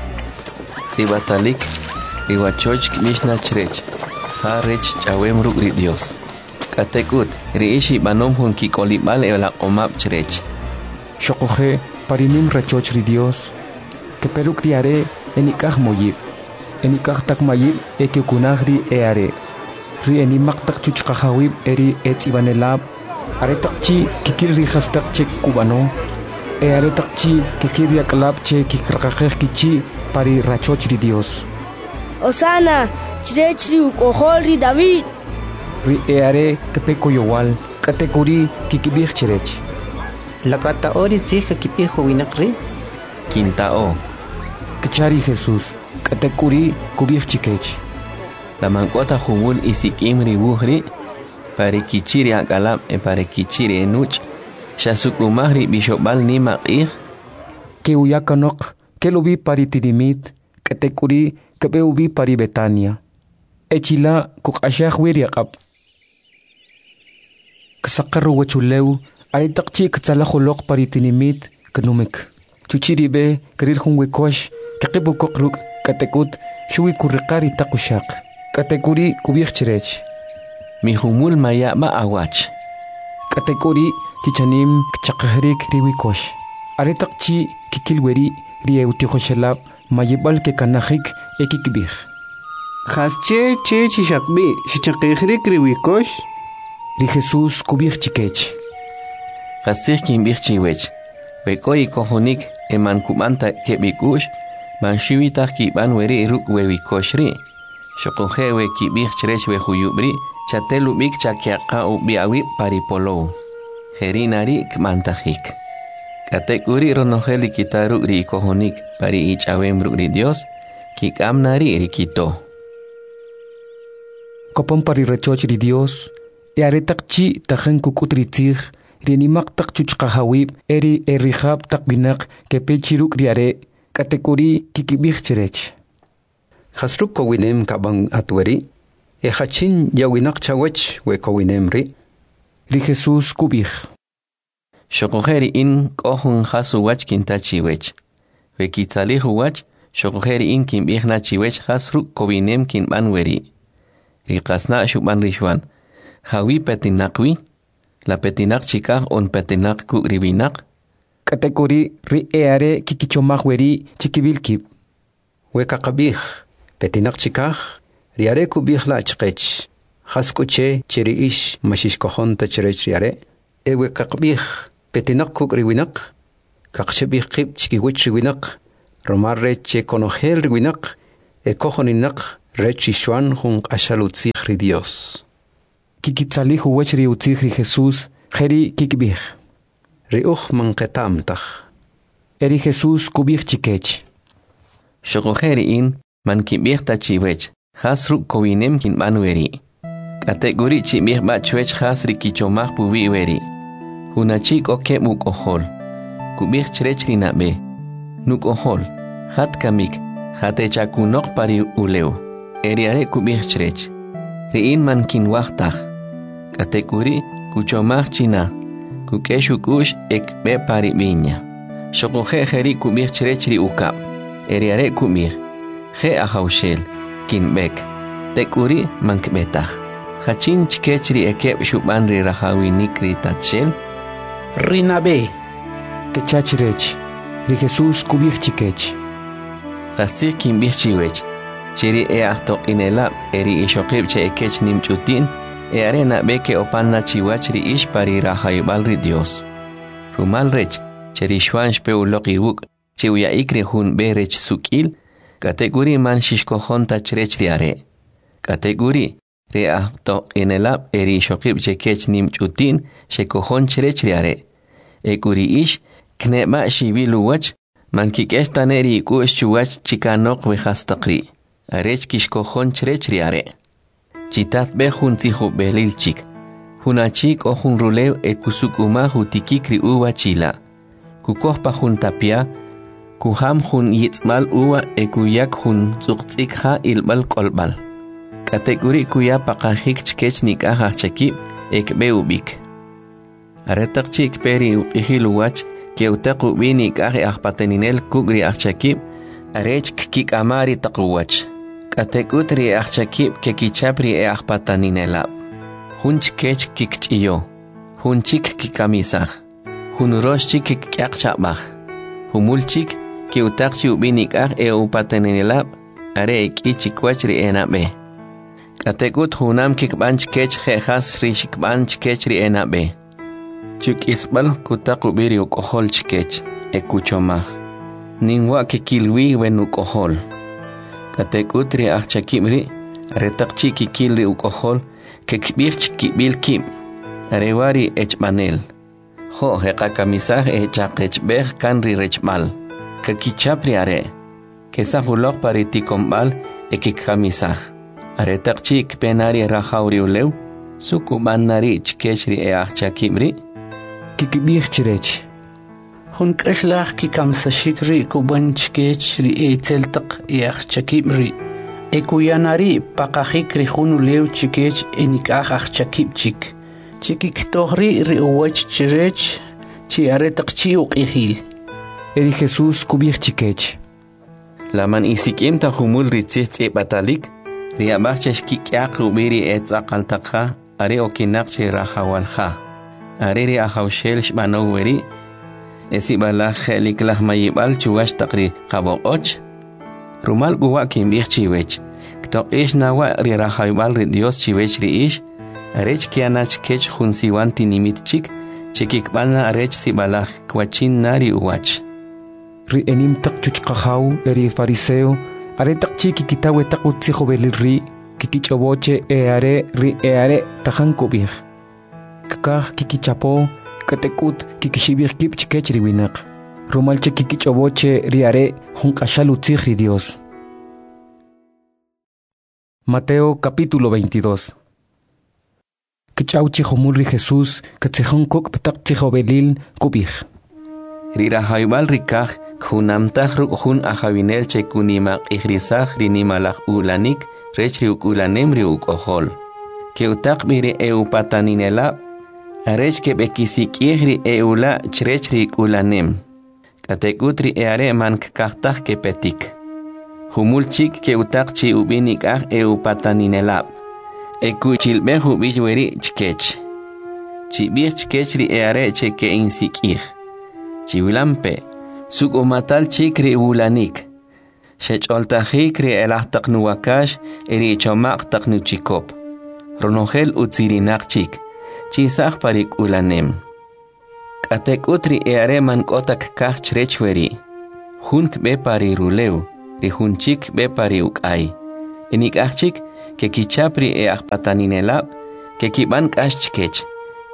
S1: Tz'ib'atalik, ri wachoch kb'ix na chrech, ja rech ch'awem ruk' ri Dyos. K'atek'ut, ri ix ib'anom jun kik'olib'al elaq'omab' chrech.
S2: Xoquje' pa ri nim rachoch ri Dyos, kepe ruk' ri are' enik'aj moyib', enik'aj taq mayib' e ke'ukunaj ri e'are'. Ri enimaq taq chuchqajawib' e ri etz'ib'anelab', aretaq chi' kkil ri jastaq che kub'ano, e aretaq chi' kkil ri ak'alab' che kkiraqaqej kichi' pa ri rachoch ri Dyos.
S10: Hosana chrech ri uk'ojol ri David!
S2: Ri e'are' kepe koyowal, k'atek'uri' kkib'ij chrech:
S11: La kata'o ri tzij kakib'ij we winaq ri'?
S1: Kinta'o.
S2: Kcha ri Jesus. K'atek'uri' kub'ij chkech:
S1: La man k'o ta jumul isik'im ri wuj ri'? Pa ri kichi' ri ak'alab' e pa ri kichi' ri enuch', xasuk'umaj ri b'ixob'al nim aq'ij.
S2: Ke'uya kanoq, kel ub'i pa ri tinimit, k'atek'uri' kb'e ub'i pa ri Betania. E chila' kuq'axaj wi ri aq'ab'. Ksaqar uwachulew, aretaq chi' ktzalaj uloq pa ri tinimit, knumik. Chuchi' ri b'e kril jun wikox, kqib' ukoq ruk', k'atek'ut xuwi kuriqa' ri taq uxaq. K'atek'uri' kub'ij chrech:
S1: Mijumul maya' b'a awach.
S2: K'atek'uri' chi chanim kchaqajarik ri wikox. Aretaq chi' kkil weri' ri e'utijoxelab' mayib'al kekanajik e kkib'ij:
S12: Jasche che chi xaqb'i' xchaqijrik ri wikox?
S2: Ri Jesus kub'ij chkech:
S1: Qastzij kinb'ij chiwech, we k'o ikojonik e man kub'an ta keb' ik'u'x, man xuwi taj kib'an weri' ruk' we wikox ri'. Xoquje' we kib'ij chrech we juyub' ri', chatel ub'ik chak'yaqa ub'i awib' pa ri polow. Jeri' na ri' kb'antajik. K'atek'uri' ronojel ri kita ruk' ri ikojonik pa ri ich'awem ruk' ri Dyos, kik'am na ri' ri kito.
S2: Kopon pa ri rachoch ri Dyos, e aretaq chi' tajin kuk'ut ri tzij, ri nimaq taq chuchqajawib' e ri erijab' taq winaq kepe chi ruk' ri are', k'atek'uri' kkib'ij chrech:
S13: Jas ruk' kowinem kab'an at weri'? E jachin ya'winaq chawech we kowinem ri'?
S2: Ri Jesus kub'ij:
S1: Xoquje' ri in k'o jun jas uwach kinta chiwech. We kitzalij uwach, xoquje' ri in kinb'ij na chiwech jas ruk' kowinem kinb'an weri'. Ri qasna' xub'an ri Xwan, jawi petinaq wi? La petinaq chikaj on petinaq kuk' ri winaq?
S2: K'atek'uri' ri e'are' kkichomaj weri' chkib'il kib':
S13: We kaqab'ij, petinaq chikaj, ri are' kub'ij la' chqech, jas k'u che che ri ix ma xixkojon ta chrech ri are'? E we kaqab'ij, petinaq kuk' ri winaq, Kaqxib'ij qib' chkiwach ri winaq, rumal rech che konojel ri winaq ekojoninaq rech ri Xwan jun q'axal utzij ri Dyos.
S2: Kikitzalij uwach ri utzij ri Jesus, jeri' kkib'ij:
S13: Ri uj man qeta'm taj.
S2: E ri Jesus kub'ij chkech:
S1: Xoquje' ri in man kinb'ij ta chiwech jas ruk' kowinem kinb'an weri'. K'atek'uri' chib'ij b'a' chwech jas ri kichomaj puwi' weri'. Jun achi k'o keb' uk'ojol. Kub'ij chrech ri nab'e: Nuk'ojol, jat kamik, jatechakunoq pa ri ulew. E ri are' kub'ij chrech: Ri in man kinwaj taj. K'atek'uri' kuchomaj chi na, kuk'ex uk'u'x e kb'e pa ri viña. Xoquje' jeri' kub'ij chrech ri ukab'. E ri are' kub'ij: Je' Ajawxel, kinb'ek. Tek'uri' man kb'e taj. Jachin chkech ri ekeb' xub'an ri rajawinik ri tatxel?
S8: Ri nab'e.
S2: Kecha chrech. Ri Jesus kub'ij chkech:
S1: Qastzij kinb'ij chiwech, che ri e'ajtoq'inelab' e ri ixoqib' che ekech nim ch'uti'n, e'are nab'e ke'opan na chiwach ri ix pa ri rajawib'al ri Dyos. Rumal rech, che ri Xwan xpe uloq iwuk' che uya'ik ri jun b'e rech suk'il, k'atek'uri' man xixkojon ta chrech ri are'. K'atek'uri', ri e'ajtoq'inelab' e ri ixoqib' che kech nim ch'uti'n xekojon chrech ri are'. Ek'u ri ix, kne'b'a' xiwil uwach, man kik'ex ta ne ri ik'u'x chuwach chikanoq we jastaq ri', arech kixkojon chrech ri are'. Chitatb'ej jun tzijob'elil chik. Jun achi k'o jun rulew e kusuk'umaj utikik ri uva chila'. Kukoj pa jun tapya, kujam jun yitz'b'al uva e kuyak jun tz'uqtz'ik ja ilb'al k'olb'al. K'atek'uri' kuya paqajik chkech nik'aj ajchakib' e kb'e ub'ik. Aretaq chi' kpe ri uq'ijil uwach, ke'utaq ub'i nik'aj e'ajpataninel kuk' ri ajchakib' arech kkik'ama ri taq uwach. K'atek'ut ri e'ajchakib' kekichap ri e'ajpataninelab'. Jun chkech kikch'iyo, jun chik kikamisaj, jun urox chik kik'yaq cha'b'aj. Jumul chik ke'utaq chi ub'i nik'aj e'upataninelab' are ek'i chikwach ri enab'e. K'atek'ut junam kikb'an chkech je' jas ri xikb'an chkech ri enab'e. Chuk'isb'al kutaq ub'i ri uk'ojol chkech, e kuchomaj: Nim wa' kekil wi we nuk'ojol. K'atek'ut ri ajchakib' ri', aretaq chi' kikil ri uk'ojol, kekib'ij chkib'il kib': Are wa' ri echb'anel. Jo' je'qakamisaj e chaqechb'ej kan ri rechb'al. Kakichap ri are', kesaj uloq pa ri tikonb'al e kikamisaj. Aretaq chi' kpe na ri rajaw ri ulew, su kub'an na ri' chkech ri e'ajchakib' ri'?
S2: Kikib'ij chrech:
S12: Jun k'axlaj kikamisaxik ri' kub'an chkech ri e'itzel taq e'ajchakib' ri', e kuya na ri' paqajik ri jun ulew chkech enik'aj ajchakib' chik, che kkitoj ri' ri uwach chrech chi aretaq chi' uq'ijil.
S2: E ri Jesus kub'ij chkech:
S1: La man isik'im ta jumul ri tzij tz'ib'atalik? Ri ab'aj che xkik'yaq ub'i ri etz'aqal taq ja are okinaq che rajawal ja. Are ri Ajawxel xb'anow weri', e sib'alaj je'likalaj mayib'al chuwach taq ri qab'oq'och. Rumal k'u wa' kinb'ij chiwech, ktoq'ix na wa' ri rajawib'al ri Dyos chiwech ri ix, arech kya na chkech jun siwan tinimit chik che kikb'an na arech sib'alaj kwachin na ri uwach.
S2: Ri enim taq chuchqajaw e ri fariseo, aretaq chi' kikita we taq utzijob'elil ri', kikich'ob'o che e'are ri e'are' tajan kub'ij. Kkaj kikichapo, k'atek'ut kikixib'ij kib' chkech ri winaq, rumal che kikich'ob'o che ri are' jun q'axal utzij ri Dios. Mateo capítulo veintidós. Kch'aw chi jumul ri Jesus katzijon kuk' taq tzijob'elil kub'ij:
S1: Ri rajawib'al ri kaj kjunamtaj ruk' jun ajawinel che kunimaq'ijrisaj ri nimalaj ulanik rech ri uk'ulanem ri uk'ojol. Ke'utaq b'i ri e'upataninelab' arech keb'ekisik'ij ri e'ula' chrech ri k'ulanem. K'atek'ut ri e'are' man kkaj taj kepetik. Jumul chik ke'utaq chi ub'i nik'aj e'upataninelab', e kuchilb'ej ub'i weri' chkech: Chib'ij chkech ri e'are' che ke'insik'ij. Chiwilampe', suk'umatal chik ri wulanik. Xech'oltajik ri e'alaj taq nuwakax e ri choma'q taq nuchikop. Ronojel utzirinaq chik, chisaj pa ri k'ulanem. K'atek'ut ri e'are' man k'o ta kkaj chrech weri'. Jun kb'e pa ri rulew, ri jun chik kb'e pa ri uk'ay. Enik'aj chik kekichap ri e'ajpataninelab', kekib'an k'ax chkech,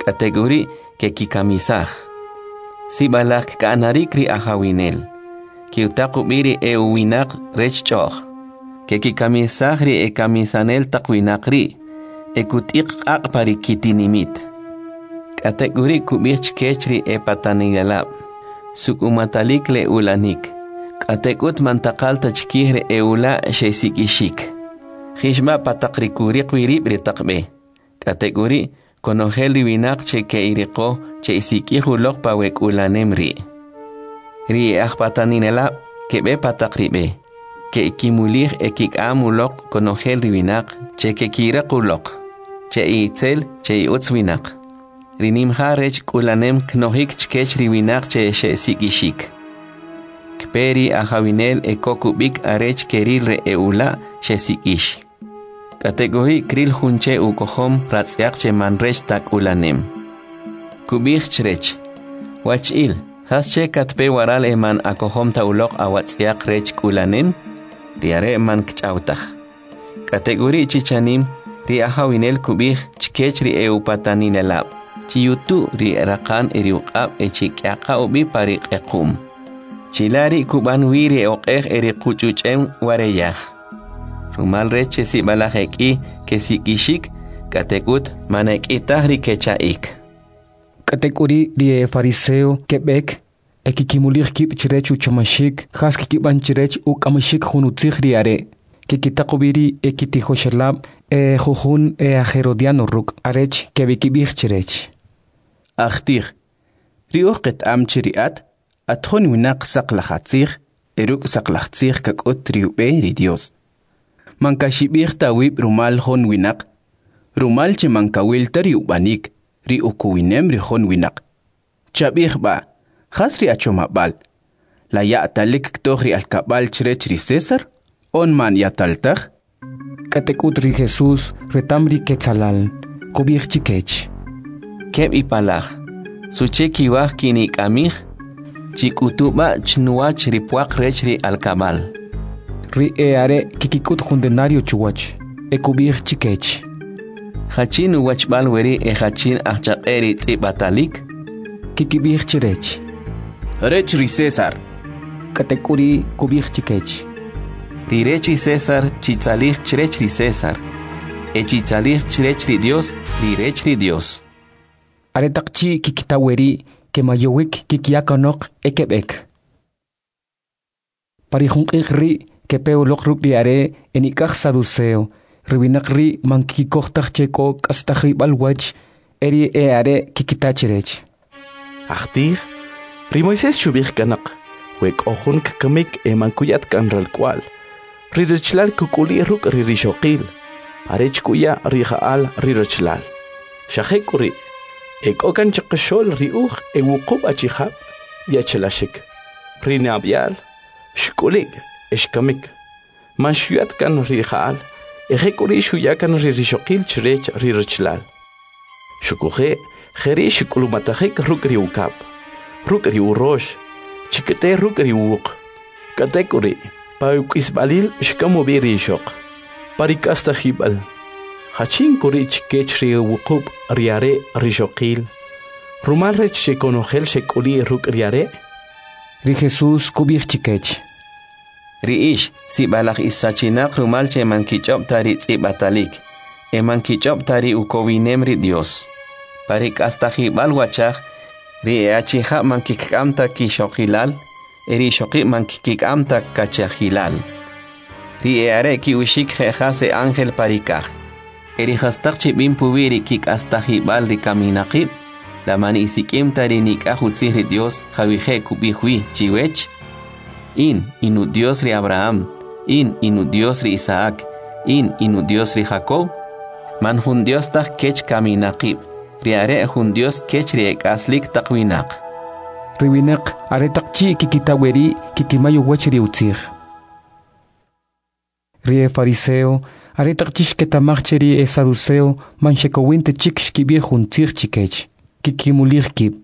S1: k'atek'uri' kekikamisaj. Sib'alaj kka'narik ri ajawinel. Ke'utaq ub'i ri e'uwinaq rech ch'o'j. Kekikamisaj ri ekamisanel taq winaq ri' e kut'iq q'aq' pa ri kitinimit. K'atek'uri' kub'ij chkech ri epataninelab': Suk'umatalik le ulanik, k'atek'ut man taqal ta chkij ri e'ula' xesik'ixik. Jix b'a' pa taq ri kuriq wi rib' ri taq b'e. K'atek'uri', konojel ri winaq che ke'iriqo che'isik'ij uloq pa we k'ulanem ri'. Ri e'ajpataninelab' keb'e pa taq ri b'e, ke'kimulij e kik'am uloq konojel ri winaq che kekiriq uloq, che e'itzel che e'utz winaq. Ri nimja rech k'ulanem knojik chkech ri winaq che xe'sik'ixik. Kpe ri ajawinel e kok ub'ik arech keril ri e'ula' xesik'ix. K'atek'uri' kril jun che ukojom ratz'yaq che man rech ta k'ulanem. Kub'ij chrech: Wach'il, jasche katpe waral e man akojom ta uloq awatz'yaq rech k'ulanem? Ri are' man kch'aw taj. K'atek'uri' chi chanim, ri ajawinel kub'ij chkech ri e'upataninelab': Chiyutu' ri raqan e ri uq'ab' e chik'yaqa ub'i pa ri q'equ'm. Chila' ri' kub'an wi ri oq'ej e ri quch'uch'em wareyaj. Rumal rech che sib'alaj ek'i kesik'ixik, k'atek'ut man ek'i taj ri kecha'ik.
S2: K'atek'uri' ri efariseo keb'ek e kikimulij kib' chrech uchomaxik jas kkib'an chrech uk'amaxik jun utzij ri are'. Kikitaq ub'i ri ekitijoxelab' e ejujun e'ajherodi'ano ruk' arech keb'ekib'ij chrech:
S14: Ajtij, ri uj qeta'm che ri at, at jun winaq saqlaj atzij e ruk' saqlaj tzij kak'ut ri ub'e ri Dyos. Man kaxib'ij ta awib' rumal jun winaq, rumal che man kawil ta ri ub'anik ri ukowinem ri jun winaq. Chab'ij b'a', jas ri achomab'al? La ya'talik ktoj ri alkab'al chrech ri César on man ya'tal taj?
S2: K'atek'ut ri Jesus reta'm ri ketzalal, kub'ij chkech:
S1: Keb' ipalaj, suche kiwaj kinik'amij? Chik'utu b'a' chnuwach ri pwaq rech ri alkab'al.
S2: Ri e'are' kkik'ut jun denario chuwach e kub'ij chkech:
S1: Jachin uwachb'al weri' e jachin ajchaq'e ri tz'ib'atalik?
S2: Kkib'ij chrech:
S14: Rech ri César.
S2: K'atek'uri' kub'ij chkech:
S1: Ri rech ri César chitzalij chrech ri César, e chitzalij chrech ri Dyos ri rech ri Dyos.
S2: Aretaq chi' kkita weri', kemayowik kkiya kanoq e keb'ek. Pa ri jun q'ij ri' kepe uloq ruk' ri are' enik'aj saduceo. Ri winaq ri' man kkikoj taj che k'o k'astajib'al wach, e ri e'are' kkita chrech:
S15: Ajtij, ri Moisés xub'ij kanoq, we k'o jun kkamik e man kuya ta kan ralk'wa'l, ri rachalal kuk'uli' ruk' ri rixoqil, arech kuya rija'al ri rachalal. Xa jek'uri', e k'o kan chaqaxo'l ri uj e wuqub' achijab' yachalaxik. Ri nab'yal xk'uli'k e xkamik, man xuya ta kan rija'al, e jek'uri' xuya kan ri rixoqil chrech ri rachalal. Xuquje' jeri' xk'ulmatajik ruk' ri ukab', ruk' ri urox, chikete ruk' ri uwuq. K'atek'uri', pa uk'isb'alil xkam ub'i ri ixoq. Pa ri k'astajib'al, jachin k'u ri' chkech ri wuqub' ri are' rixoqil, rumal rech che konojel xek'uli' ruk' ri are'?
S2: Ri Jesus kub'ij chkech:
S1: Ri ix sib'alaj ixsachinaq rumal che man kich'ob' ta ri tz'ib'atalik e man kich'ob' ta ri ukowinem ri Dyos. Pa ri k'astajib'al wachaj, ri e'achijab' man kkik'am ta kixoqilal e ri ixoqib' man kkik'am ta kachajilal. Ri e'are' ki'uxik je' jas e'ángel pa ri kaj. E ri jastaq che b'im puwi' ri kik'astajib'al ri kaminaqib', la man isik'im ta ri nik'aj utzij ri Dyos jawije' kub'ij wi chiwech? In, in Udyos ri Abraham, in, in Udyos ri Isaac, in, in Udyos ri Jacob. Man jun Dyos taj kech kaminaqib', ri are' jun Dyos kech ri ek'aslik taq winaq.
S2: Ri winaq aretaq chi' kkita weri' kikimay uwach ri utzij. Ri efariseo aretaq chi' xketa'maj che ri esaduceo man xekowin ta chik xkib'ij jun tzij chkech, kikimulij kib'.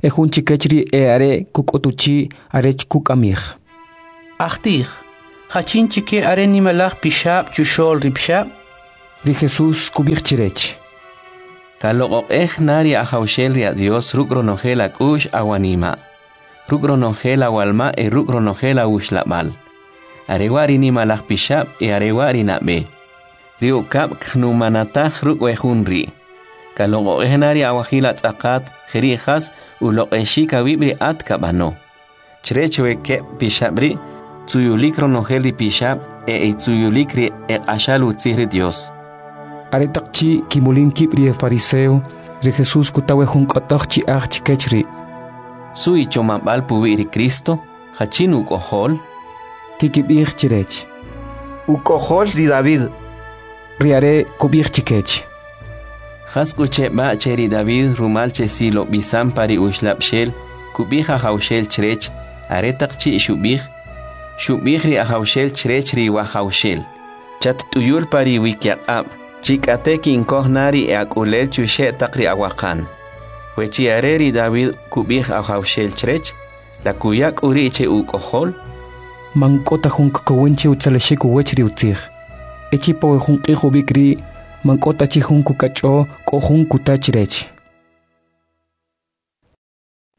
S2: e jun chkech ri e'are' kuk'ot uchi' arech kuk'amij.
S12: Ajtij, jachin chike are nimalaj pixab' chuxo'l ri pixab'?
S2: Ri Jesus kub'ij chrech:
S1: Kaloq'oq'ej na ri Ajawxel ri Adyos ruk' ronojel ak'u'x awanima', ruk' ronojel awalma' e ruk' ronojel awuxlab'al. Are wa' ri nimalaj pixab' e are wa' ri nab'e. Ri ukab' kjunamataj ruk' we jun ri'. Kaloq'oq'ej na ri awajil atz'aqat jeri' jas uloq'exik awib' ri at kab'ano. Chrech we keb' pixab' ri', tzuyulik ronojel ri pixab' e etzuyulik ri eq'axal utzij ri Dios.
S2: Aretaq chi' kimulim kib' ri efariseo, ri Jesus kuta we jun k'otoj chi'aj chkech ri':
S1: Su ichomab'al puwi' ri Cristo? Jachin uk'ojol?
S2: Kikib'ij chrech:
S5: Uk'ojol ri David.
S2: Ri are' kub'ij chkech:
S1: Jas k'u che b'a' che ri David rumal che silob'isam pa ri uxlab'xel kub'ij Ajawxel chrech, aretaq chi' xub'ij, xub'ij ri Ajawxel chrech ri Wajawxel, chatt'uyul pa ri wikyaq'ab', chi k'ate kinkoj na ri e'ak'ulel chuxe' taq ri awaqan. We chi are ri David kub'ij Ajawxel chrech, la kuya k'u ri' che uk'ojol?
S2: Man k'o ta jun kkowin che utzalexik uwach ri utzij. E chi pa we jun q'ij ub'ik ri', man k'o ta chi jun kukach'o k'o jun kuta chrech.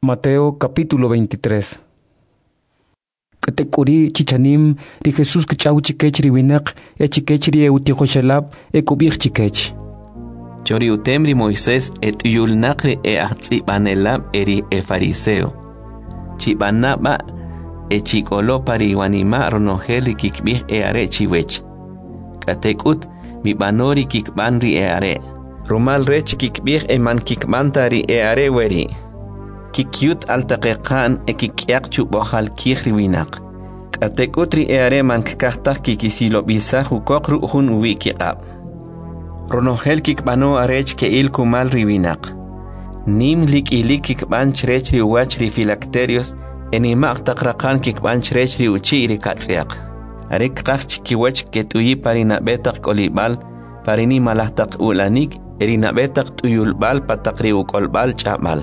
S2: Mateo capítulo veintitrés. K'atek'uri' chichanim, ri Jesus kch'aw chikech ri winaq e chikech ri e'utijoxelab' e kub'ij chikech:
S1: Cho ri utem ri Moisés et'uyulnaq ri e'ajtz'ib'anelab' e ri efariseo. Chib'ana b'a e chik'olo pa ri iwanima' ronojel ri kikb'ij e'are' chiwech. K'atek'ut mib'ano ri kikb'an ri e'are', rumal rech kikb'ij e man kikb'an ta ri e'are' weri'. Kikyut al taq eqa'n e kik'yaq chub'ojal kij ri winaq. K'atek'ut ri e'are' man kkaj taj kikisilob'isaj ukoq ruk' jun uwi' kiq'ab'. Ronojel kikb'ano arech ke'il kumal ri winaq. Nim lik'ilik kikb'an chrech ri uwach ri filakterios e nima'q taq raqan kikb'an chrech ri uchi' ri katz'yaq. Are kqaj chkiwach ket'uyi pa ri nab'e taq k'olib'al, pa ri nimalaj taq u'lanik e ri nab'e taq t'uyulb'al pa taq ri uk'olb'al ch'ab'al.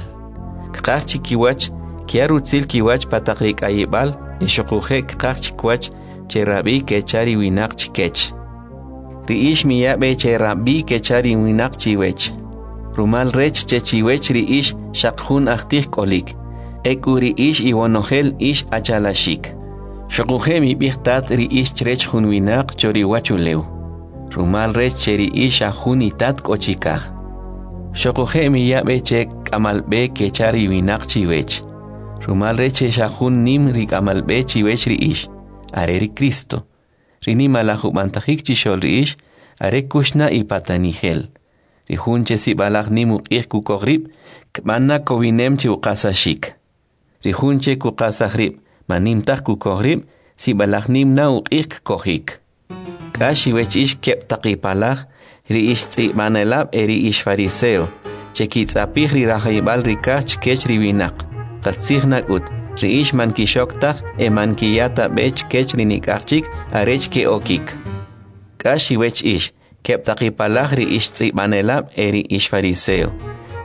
S1: Kqaj chikiwach kya rutzil kiwach pa taq ri k'ayib'al e xuquje' kqaj chikiwach che rab'i kecha ri winaq chikech. Ri ix miya b'e che rab'i kecha ri winaq chiwech. Rumal rech che chiwech ri ix xaq jun ajtij k'olik, e k'u ri ix iwonojel ix achalaxik. Xuquje' mib'ij tat ri ix chrech jun winaq cho ri uwachulew, rumal rech che ri ix xa jun itat k'o chikaj. Xuquje' miya b'e che k'amal b'e kecha ri winaq chiwech, rumal rech che xa jun nim ri k'amal b'e chiwech ri ix, are ri Cristo. Ri nimalaj ub'antajik chixo'l ri ix, are kuxna ipatanijel. Ri jun che sib'alaj nim uq'ij kukoj rib', kb'an na kowinem che uqasaxik. Ri jun che kuqasaj rib', man nim taj kukoj rib', sib'alaj nim na uq'ij kkojik. K'ax iwech ix keb' taq ipalaj, ri ix tz'ib'anelab' e ri ix fariseo, che kitz'apij ri rajayib'al ri kaj chkech ri winaq. Qastzij nak'ut, ri ix man kixok taj e man kiya ta b'e chkech ri nik'aj chik arech ke'okik. K'ax iwech ix, keb' taq ipalaj ri ix tz'ib'anelab' e ri ix fariseo,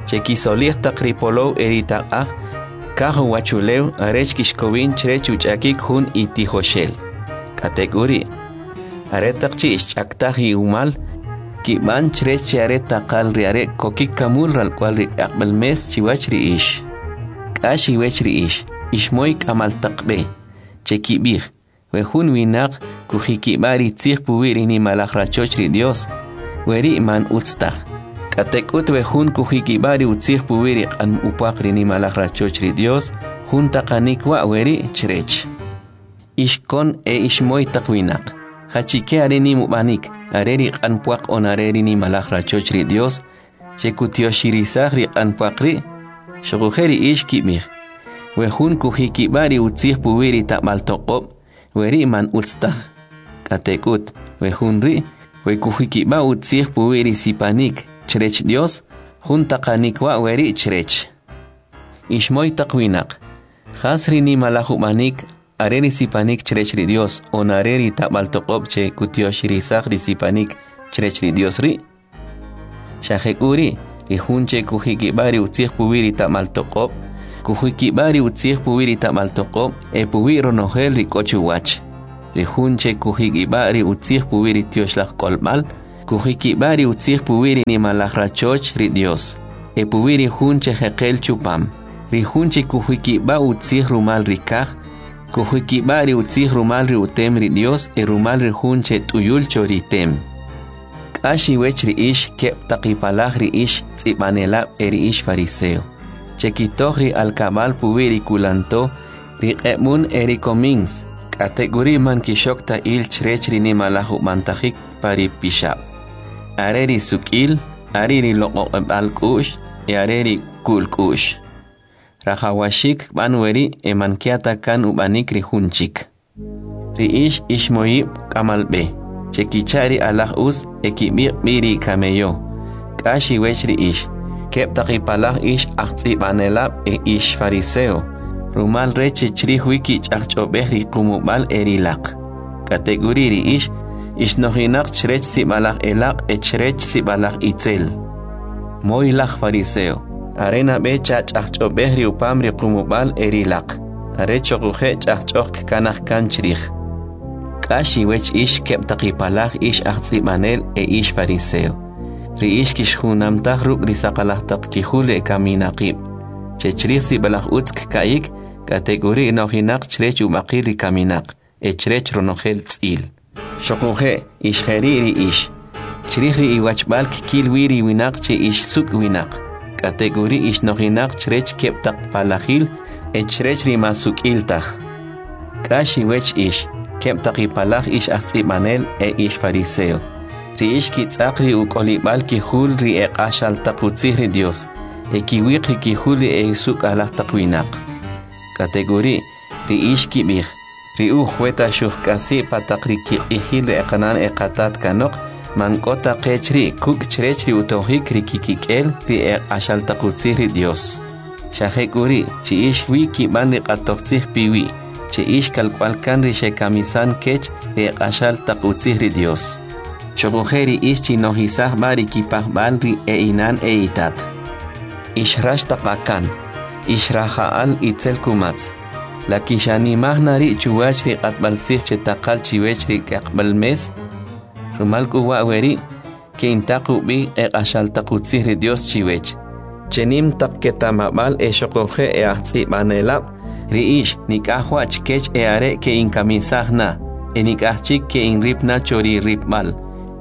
S1: che kisolij taq ri polow e ri taq'aj kaj uwachulew arech kixkowin chrech uch'akik jun itijoxel. K'atek'uri', aretaq chi' xch'aktaj iwumal, kib'an chrech che are taqal ri are' kokik kamul ralk'wal ri k'aqb'al mes chiwach ri ix. K'ax iwech ri ix, ixmoy k'amal taq b'e, che kib'ij, we jun winaq kujikib'a ri tzij puwi' ri nimalaj rachoch ri Dios, weri' man utz taj. K'atek'ut we jun kujikib'a ri utzij puwi' ri q'an upwaq ri nimalaj rachoch ri Dios, jun taqanik wa' weri' chrech. Ix kon e ixmoy taq winaq, jachike are nim ub'anik, are ri q'an pwaq on are ri nimalaj rachoch ri Dios, che kutyoxirisaj ri q'an pwaq ri', xuquje' ri ix kib'ij, we jun kujikib'a ri utzij puwi' ri tab'al toq'ob', weri' man utz taj. K'atek'ut, we jun ri', we kujikib'a utzij puwi' ri sipanik chrech Dios, jun taqanik wa' weri' chrech. Ixmoy taq winaq, jas ri nimalaj ub'anik are ri sipanik chrech ri Dios on are ri tab'al toq'ob' che kutyoxirisaj ri sipanik chrech ri Dios ri'? Xa jek'uri', ri jun che kujikib'a ri utzij puwi' ri tab'al toq'ob', kujikib'a ri utzij puwi' ri tab'al toq'ob' e puwi' ronojel ri k'o chuwach. Ri jun che kujikib'a ri utzij puwi' ri tyoxlaj k'olb'al, kujikib'a ri utzij puwi' ri nimalaj rachoch ri Dyos, e puwi' ri jun che jeqel chupam. Ri jun che kujikib'a utzij rumal ri kaj, kujikib'a ri utzij rumal ri utem ri Dyos e rumal ri jun che t'uyul cho ri tem. K'ax iwech ri ix keb' taq ipalaj ri ix tz'ib'anelab' e ri ix fariseo, che kitoj ri alkab'al puwi' ri kulanto, ri q'eb'un e ri komins, k'atek'uri' man kixok ta il chrech ri nimalaj ub'antajik pa ri pixab'. Are ri suk'il, are ri loq'oq'eb'al k'u'x e are ri ku'l k'u'x. Rajawaxik kb'an weri' e man kya ta kan ub'anik ri jun chik. Ri ix ixmoyib' k'amal b'e, che kicha' ri alaj us e kib'iq' b'i ri kameyo. K'ax iwech ri ix, keb' taq ipalaj ix ajtz'ib'anelab' e ix fariseo, rumal rech che chrij wi kich'ajch'ob'ej ri qumub'al e ri laq. K'atek'uri' ri ix, ixnojinaq chrech sib'alaj elaq' e chrech sib'alaj itzel. Moylaj fariseo, are nab'e chach'ajch'ob'ej ri upam ri qumub'al e ri laq, are choqoje' ch'ajch'oj kkanaj kan chrij. K'ax iwech ix keb' taq ipalaj ix ajtz'ib'anel e ix fariseo. Ri ix kixjunamtaj ruk' ri saqalaj taq kijul ekaminaqib', che chrij sib'alaj utz kka'yik, k'atek'uri' nojinaq chrech ub'aqil ri kaminaq e chrech ronojel tz'il. Xoquje' ix jeri' ri ix. Chrij ri iwachb'al kkil wi ri winaq che ix suk' winaq, k'atek'uri' ix nojinaq chrech keb' taq palajil e chrech ri man suk'il taj. K'ax iwech ix, keb' taq ipalaj ix ajtz'ib'anel e ix fariseo. Ri ix kitz'aq ri uk'olib'al kijul ri eq'axal taq utzij ri Dyos, e kiwiq ri kijul ri esuk'alaj taq winaq. K'atek'uri', ri ix kib'ij, ri uj weta xujk'asi' pa taq ri kiq'ijil ri eqanan eqatat kanoq, man k'o ta qech ri' kuk' chrech ri utojik ri kikik'el ri eq'axal taq utzij ri Dyos. Xa jek'uri', chi ix wi kib'an ri q'atojtzij piwi', che ix kalk'wal kan ri xekamisan kech ri eq'axal taq utzij ri Dyos. Xoquje' ri ix chinojisaj b'a ri kipajb'al ri e'inan e'itat. Ix rax taq akan, ix raja'al itzel kumatz. La kixanimaj na ri' chuwach ri q'atb'altzij che taqal chiwech ri k'aqb'al mes? Rumal k'u wa' weri', ke'intaq ub'i eq'axal taq utzij ri Dyos chiwech, che nim taq keta'mab'al e xoquje' e ajtz'ib'anelab', ri ix nik'aj wa' chkech e are' ke'inkamisaj na, e nik'aj chik ke'inrip na cho ri ripb'al,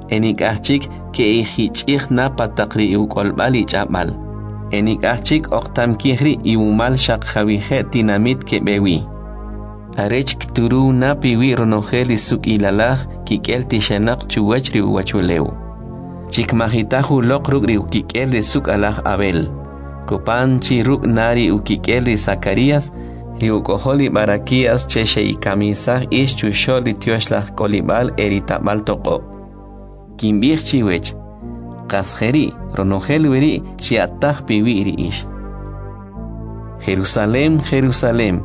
S1: e nik'aj chik ke'ijich'ij na pa taq ri uk'olb'al ich'ab'al, e nik'aj chik oqtam kij ri' iwumal xaq jawije' tinamit keb'e wi. Arech kturuw na piwi' ronojel ri suk'ilalaj kik'el tixenaq chuwach ri uwachulew. Chikmajitaj uloq ruk' ri ukik'el ri suk'alaj Abel, kopan chi ruk' na ri ukik'el ri Zacarías, ri uk'ojol ri Baraquías che xe'ikamisaj ix chuxo'l ri tyoxlaj k'olib'al e ri tab'al toq'ob'. Kinb'ij chiwech, qas jeri' ronojel weri' xya'taj piwi' ri ix. Jerusalem, Jerusalem,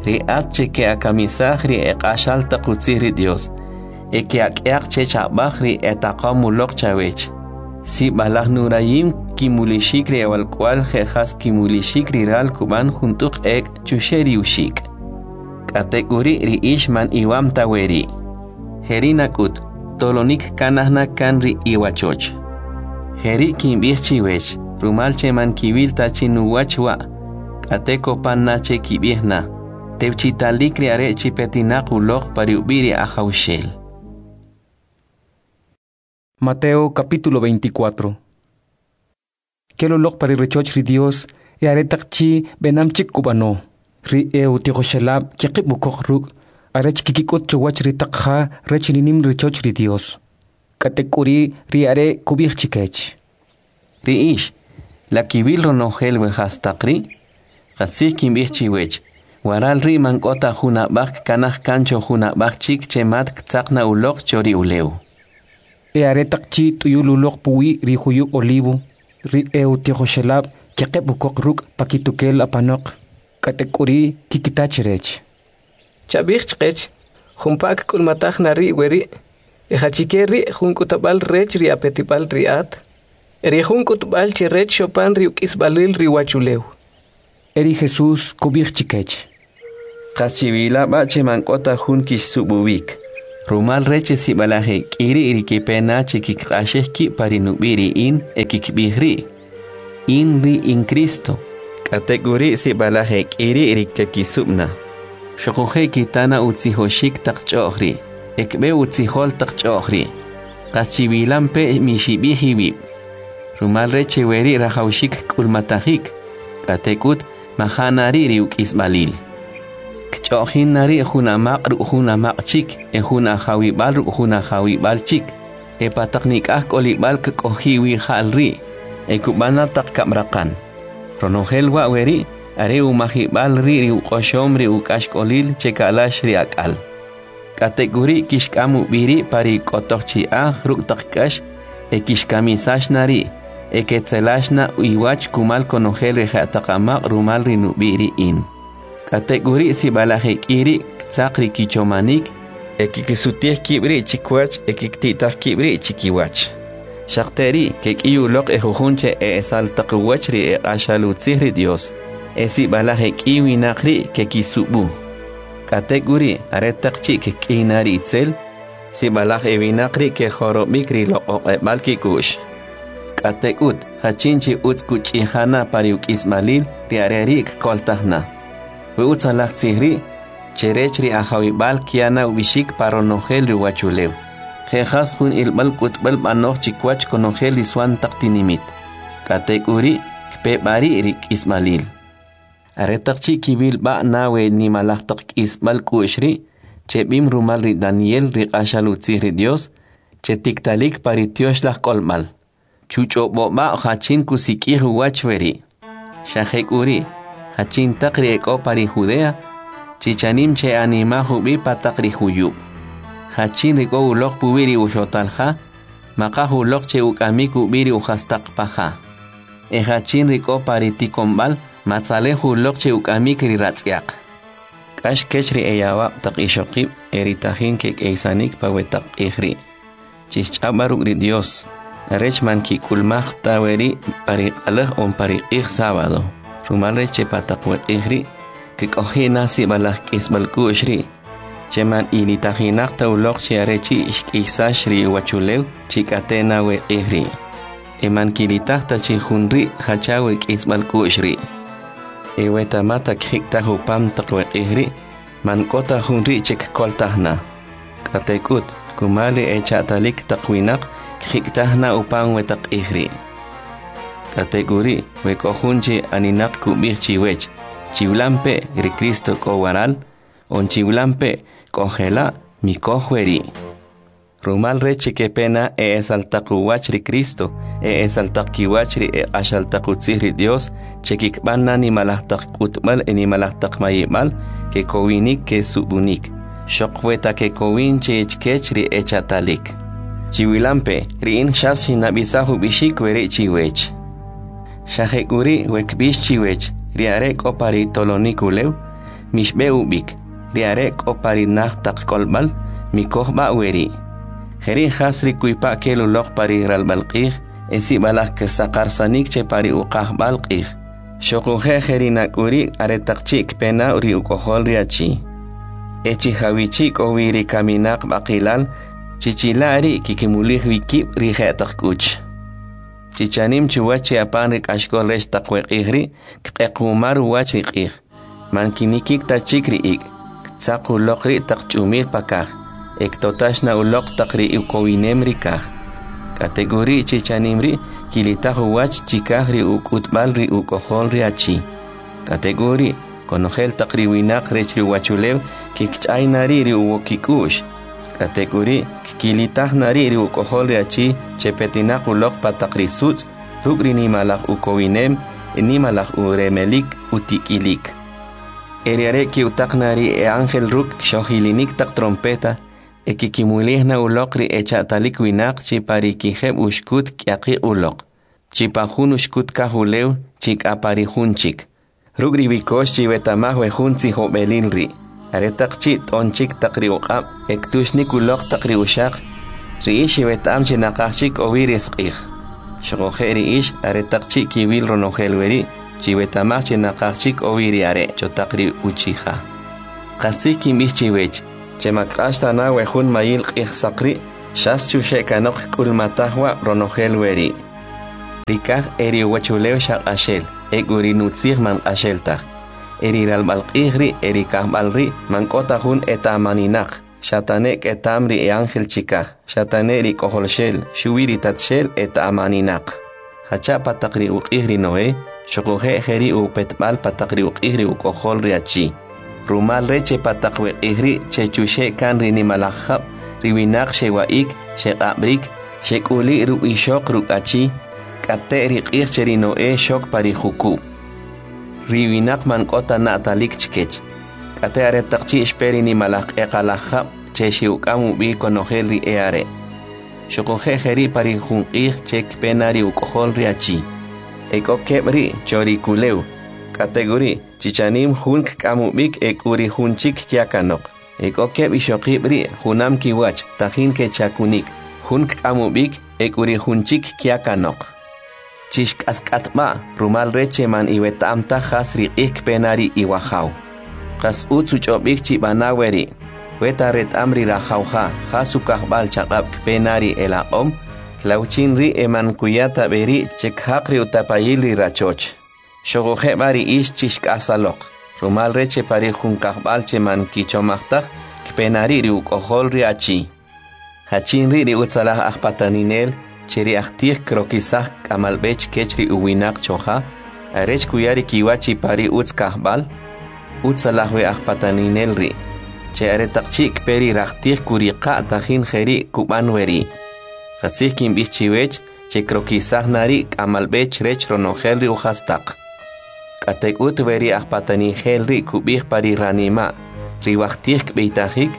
S1: ri at che ke'akamisaj ri eq'axal taq utzij ri Dyos, e ke'ak'yaq chech ab'aj ri etaqom uloq chawech. Sib'alaj nurayim kimulixik ri awalk'wa'l je' jas kimulixik ri ral kub'an jun t'uq ek' chuxe' ri uxik'. K'atek'uri' ri ix man iwam ta weri'. Jeri' nak'ut, tolonik kanaj na kan ri iwachoch. Jeri' kinb'ij chiwech, rumal che man kiwil ta chi nuwach wa', k'ate kopan na che kib'ij na, tewchitalik ri are' chi petinaq uloq pa ri ub'i' ri Ajawxel.
S2: Mateo capítulo veinticuatro. Kel uloq pa ri rachoch ri Dios e aretaq chi b'enam chik kub'ano. Ri e utijoxelab' keqib' ukoq ruk' arech kikik'ut chuwach ri taq ja rech ri nim rachoch ri Dios. K'atek'uri' ri are' kub'ij chikech.
S1: Ri ix, la kiwil ronojel we jastaq ri'? Qastzij kinb'ij chiwech, waral ri' man k'o ta jun ab'aj kkanaj kan cho jun ab'aj chik che mat ktzaq na uloq cho ri ulew.
S2: E aretaq chi t'uyul uloq puwi' ri juyub' Olivo, ri e utijoxelab' keqeb' ukoq ruk' pakitukel apanoq, k'atek'uri' kikita chrech.
S4: Chab'ij chqech, jumpa kk'ulmataj na ri' weri', e jachike ri' jun k'utb'al rech ri apetib'al ri at, e ri jun k'utb'al che rech xopan ri uk'isb'alil ri uwachulew.
S2: E ri Jesus kub'ij chkech:
S1: Qas chiwila b'a' che man k'o ta jun kixsub'uwik. Rumal rech che sib'alaj e k'i ri' ri kepe na che kkiq'axej kib' pa ri nub'i' ri in e kkib'ij ri': In ri in Kristo. K'atek'uri' sib'alaj e k'i ri' ri kekisub' na. Xoquje' kita na utzijoxik taq ch'o'j ri', e kb'e utzijol taq ch'o'j ri'. Qas chiwilampe' mixib'ij iwib'. Rumal rech che weri' rajawaxik kk'ulmatajik, k'atek'ut maja' na ri' ri uk'isb'alil. Kch'o'jin na ri' jun amaq' ruk' jun amaq' chik e jun ajawib'al ruk' jun ajawib'al chik, e pa taq nik'aj k'olib'al kk'oji' wi ja'l ri', e kub'an na taq kab'raqan. Ronojel wa' weri' are umajib'al ri' ri uq'oxom ri uk'axk'olil che ka'lax ri ak'al. K'atek'uri' kixk'am ub'i ri' pa ri k'otoj chi'aj ruk' taq k'ax e kixkamisax na ri', e ketzelax na iwach kumal konojel ri je'taq amaq' rumal ri nub'i' ri in. K'atek'uri' sib'alaj e k'i ri' ktzaq ri kichomanik e kkisutij kib' ri' chikiwach e kkiti'taj kib' ri' chikiwach. Xaq ri' kek'iy uloq ejujun che e'esal taq uwach ri eq'axal utzij ri Dyos, e sib'alaj ek'i winaq ri' kekisub'u. K'atek'uri' aretaq chi' kk'iy na ri itzel, sib'alaj ewinaq ri' kejorob'ik ri loq'oq'eb'al kik'u'x. K'atek'ut, jachin chi utz kuch'ija na pa ri uk'isb'alil, ri are' ri' kkoltaj na. We utzalaj tzij ri' che rech ri ajawib'al kya na ub'ixik pa ronojel ri uwachulew. Je' jas jun ilb'al k'utb'al b'anoj chikiwach konojel ri swan taq tinimit. K'atek'uri' kpe b'a ri' ri k'isb'alil. Aretaq chi' kiwil b'a na we nimalaj taq k'isb'al k'u'x ri', che b'im rumal ri Daniel ri q'axal utzij ri Dios, che tiktalik pa ri tyoxlaj k'olb'al. Chuch'ob'o b'a jachin kusik'ij uwach weri'. Xa jek'uri', jachin taq ri ek'o pa ri Judea, chichanim che animaj ub'i pa taq ri juyub'. Jachin ri k'o uloq puwi' ri uxotal ja, maqaj uloq che uk'amik ub'i ri ujastaq pa ja. E jachin ri k'o pa ri tikonb'al, matzalej uloq che uk'amik ri ratz'yaq. K'ax kech ri eyawab' taq ixoqib' e ri tajin kek'eysanik pa we taq q'ij ri'. Chixch'aw b'a ruk' ri Dios, arech man kik'ulmaj ta weri' pa ri q'alaj on pa ri q'ij sábado. Rumal rech che pa taq we q'ij ri' kk'oji' na sib'alaj k'isb'al k'u'x ri', che man ilitajinaq ta uloq chi are chi' xk'iysax ri uwachulew chi k'ate' na we q'ij ri'. E man kilitaj ta chi jun ri' jacha we k'isb'al k'u'x ri'. E we ta ma ta kjik'taj upam taq we q'ij ri', man k'o ta jun ri' che kkoltaj na. K'atek'ut, kumal ri echa'talik taq winaq kjik'taj na upam we taq q'ij ri'. K'atek'uri' we k'o jun che aninaq kub'ij chiwech, chiwilampe' ri Cristo k'o waral, on chiwilampe' k'o jela' mikoj weri'. Rumal rech che kepe na e'esal taq uwach ri Cristo, e'esal taq kiwach ri eq'axal taq utzij ri Dios, che kikb'an na nimalaj taq k'utb'al e nimalaj taq mayib'al, kekowinik kesub'unik, xoq we ta kekowin che chkech ri echa'talik. Chiwilampe', ri in xas xinnab'isaj ub'ixik weri' chiwech. Xa jek'uri' we kb'ix chiwech, ri are' k'o pa ri tolonik ulew, mixb'e ub'ik, ri are' k'o pa ri naj taq k'olb'al, mikoj b'a weri'. Jeri' jas ri kuypa' kel uloq pa ri ralb'al q'ij, e sib'alaj kesaqarsanik che pa ri uqajb'al q'ij. Xoquje' jeri' nak'uri' aretaq chi' kpe na ri uk'ojol ri achi. E chi jawichi' k'o wi ri kaminaq b'aqilal, chichila' ri' kikimulij wi kib' ri je'taq k'uch. Chichanim chuwach chi apan ri k'axk'ol rech taq we q'ij ri', kq'equmar uwach ri q'ij. Man kinikik ta chik ri ik', ktzaq uloq ri' taq ch'umil pa kaj, e ktotax na uloq taq ri ukowinem ri kaj. K'atek'uri' chichanim ri' kilitaj uwach chikaj ri uk'utb'al ri uk'ojol ri achi. K'atek'uri' konojel taq ri winaq rech ri uwachulew kikch'ay na ri' ri uwo kik'u'x. K'atek'uri' kkilitaj na ri' ri uk'ojol ri achi che petinaq uloq pa taq ri sutz' ruk' ri nimalaj ukowinem e nimalaj uremelik utik'ilik. E ri are' ki'utaq na ri e ángel ruk' kxojilinik taq trompeta e kikimulij na uloq ri echa'talik winaq chi pa ri kijeb' uxkut k'yaqiq' uloq, chi pa jun uxkut kaj ulew chi k'a pa ri jun chik. Ruk' ri wikox chiweta'maj we jun tzijob'elil ri'. Aretaq chi' t'onchik taq ri uq'ab' e ktuxnik uloq taq ri uxaq, ri ix iweta'am chi naqaj chik k'o wi ri sq'ij. Xoquje' ri ix aretaq chi' kiwil ronojel weri', Chiweta'maj che naqaj chik k'o wi ri are' cho taq ri uchi'ja. Qastzij kinb'ij chiwech, che man kq'ax ta na we jun mayil q'ijsaq ri', xas chuxe' kanoq kk'ulmataj wa' ronojel weri'. Ri kaj e ri uwachulew xa q'axel, ek'u ri nutzij man q'axel taj. E ri ralb'al q'ij ri' e ri kajb'al ri' man k'o ta jun eta'maninaq, xa ta ne keta'm ri e'anjel chikaj, xa ta ne ri K'ojolxel, xuwi ri Tatxel eta'maninaq. Jacha pa taq ri uq'ij ri Noe, xoquje' jeri' upetb'al pa taq ri uq'ij ri Uk'ojol ri achi. Rumal rech che pa taq we q'ij ri' che chuxe' kan ri nimalaj jab', ri winaq xewa'ik, xeq'ab'arik, xek'uli' ruk' ixoq ruk' achi, k'ate' ri q'ij che ri Noe xok pa ri jukub'. Ri winaq man k'o ta na'talik chkech. K'ate' aretaq chi' xpe ri nimalaj q'eqalaj jab' che xe'uk'am ub'i konojel ri e'are'. Xoquje' jeri' pa ri jun q'ij che kpe na ri Uk'ojol ri achi. Ek'o keb' ri' cho ri kulew, k'atek'uri' chi chanim jun kk'am ub'ik e k'u ri jun chik kya kanoq. Ek'o keb' ixoqib' ri' junam kiwach tajin kechakunik, jun kk'am ub'ik e k'u ri jun chik kya kanoq. Chixk'ask'at b'a', rumal rech che man iweta'm taj jas ri q'ij kpe na ri iwajaw. Qas utz uch'ob'ik chib'ana weri', weta reta'm ri rajaw ja jas ukajb'al chaq'ab' kpe na ri elaq'om, klawchin ri' e man kuya ta b'e ri' che kjaq ri utapayil ri rachoch. Xoquje' b'a ri ix chixk'asaloq, rumal rech che pa ri jun kajb'al che man kichomaj taj, kpe na ri' ri Uk'ojol ri achi. Jachin ri' ri utzalaj ajpataninel che ri ajtij krokisaj k'amalb'e chkech ri uwinaq choja, arech kuya ri kiwa chi pa ri utz kajb'al? Utzalaj we ajpataninel ri', che aretaq chi' kpe ri rajtij kuriqa' tajin jeri' kub'an weri'. Qastzij kinb'ij chiwech che krokisaj na ri' k'amalb'e chrech ronojel ri ujastaq. K'atek'ut we ri ajpatanijel ri' kub'ij pa ri ranima', ri wajtij kb'eytajik,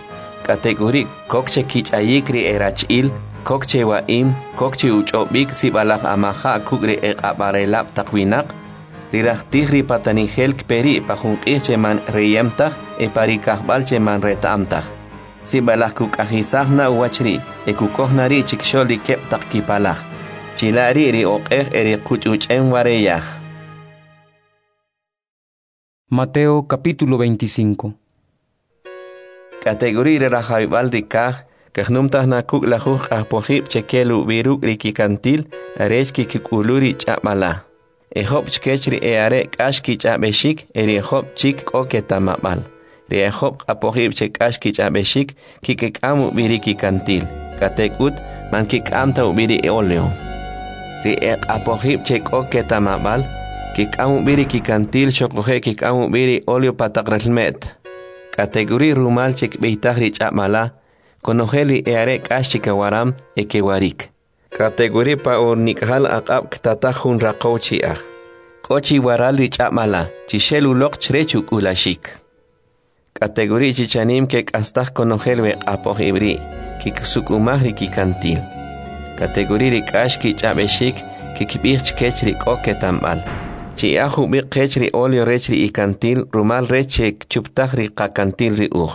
S1: k'atek'uri' kok che kich'ayik ri erach'il, kok che wa'im, kok che uch'ob'ik sib'alaj amaja' kuk' ri eq'ab'arelab' taq winaq, ri rajtij ri patanijel kpe ri' pa jun q'ij che man reyem taj e pa ri kajb'al che man reta'm taj. Sib'alaj kuk'ajisaj na uwach ri' e kukoj na ri' chikxo'l ri keb' taq kipalaj. Chila' ri' ri oq'ej e ri quch'uch'em wareyaj.
S2: Mateo capítulo veinticinco.
S1: K'atek'uri' ri rajawib'al ri kaj kajnumtaj na kuk' lajuj q'ajpojib' che kel ub'i ruk' ri kikantil arech kikik'ulu ri ch'ab'ala. E job' chkech ri e'are' k'ax kich'ab'exik e ri job' chik k'o keta'mab'al. Ri ejob' q'apojib' che k'ax kich'ab'exik kikik'am ub'i ri kikantil, k'atek'ut man kik'am ta ub'i ri oleo. Ri eq'apojib' che k'o keta'mab'al kik'am ub'i ri kikantil xoquje' kik'am ub'i ri oleo pa taq relme't. K'atek'uri' rumal che kb'eytaj ri ch'ab'ala, konojel ri e'are' k'ax chikawaram e kewarik. K'atek'uri' pa unik'jal aq'ab' ktataj jun raqow chi'aj. K'o chi waral ri ch'ab'ala, chixel uloq chrech uk'ulaxik. K'atek'uri' chi chanim kek'astaj konojel we q'apojib' ri', kikisuk'umaj ri kikantil. K'atek'uri' ri k'ax kich'ab'exik kikib'ij chkech ri k'o keta'mb'al. Chi'aj jub'iq qech ri oleo rech ri ikantil rumal rech che kchuptaj ri qakantil ri uj.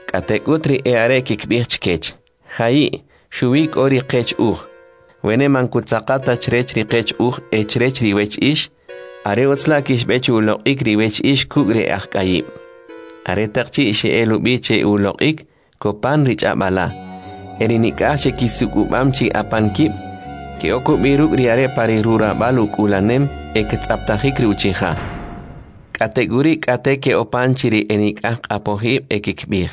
S1: K'atek'ut ri e'are' kikib'ij chkech, ja'i', xuwi k'o ri qech uj, wene man kutzaqa ta chrech ri qech uj e chrech ri wech ix, are utz la' kixb'e che uloq'ik ri wech ix kuk' ri e'ajk'ayib'. Aretaq chi' xe'el ub'i che uloq'ik, kopan ri ch'ab'ala, e ri nik'aj che kisuk'ub'am chi apan kib', ke'ok ub'i ruk' ri are' pa ri rurab'al uk'ulanem e ktz'aptajik ri uchi'ja. K'atek'uri' k'ate ke'opan chi ri enik'aj q'apojib' e kikib'ij,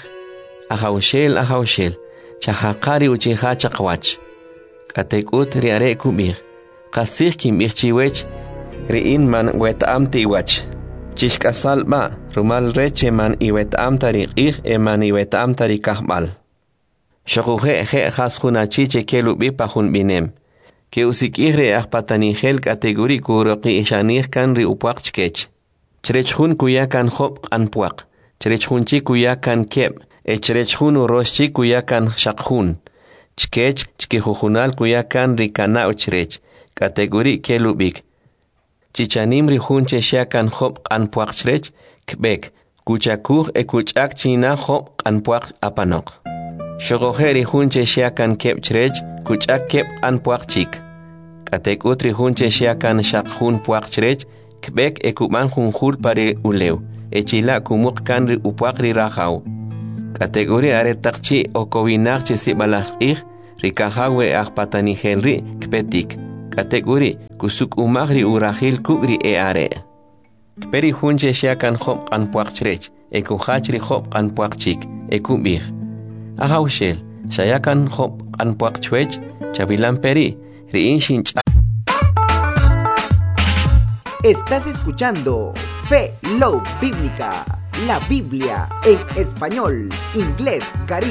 S1: Ajawxel, Ajawxel, chajaqa ri uchi'ja chaqawach. K'atek'ut ri are' kub'ij, qastzij kinb'ij chiwech, ri in man weta'am ta iwach. Chixk'asal b'a', rumal rech che man iweta'am ta ri q'ij e man iweta'am ta ri kajb'al. Xoquje' je' jas jun achi che kel ub'i pa jun b'inem. Ke'usik'ij ri e'ajpatanijel k'atek'uri' kuroqi'xanij kan ri upwaq chkech. Chrech jun kuya kan job' q'an pwaq, chrech jun chik kuya kan keb', e chrech jun urox chik kuya kan xaq jun. Chkech chkijujunal kuya kan ri kana'w chrech, k'atek'uri' kel ub'ik. Chi chanim ri jun che xya kan job' q'an pwaq chrech, kb'ek, kuchakuj e kuch'ak chi na job' q'an pwaq apanoq. Xoquje' ri jun che xya kan keb' chrech, kuch'ak keb' q'an pwaq chik. K'atek'ut ri jun che xya kan xaq jun pwaq chrech, Kb'ek e kub'an jun jul pa ri ulew e chila' kumuq kan ri upwaq ri rajaw. K'atek'uri' aretaq chi' okowinaq chi sib'alaj q'ij, ri kajaw we ajpatanijel ri' kpetik, k'atek'uri' kusuk'umaj ri urajil kuk' ri e'are'. Kpe ri jun che xya kan job' q'an pwaq chrech e kujach ri job' q'an pwaq chik, e kub'ij: Ajawxel, xaya kan job' q'an pwaq chwech, chawilampe ri', ri in xinch'a
S16: Estás escuchando Fe Love Bíblica, la Biblia en español, inglés, caribe.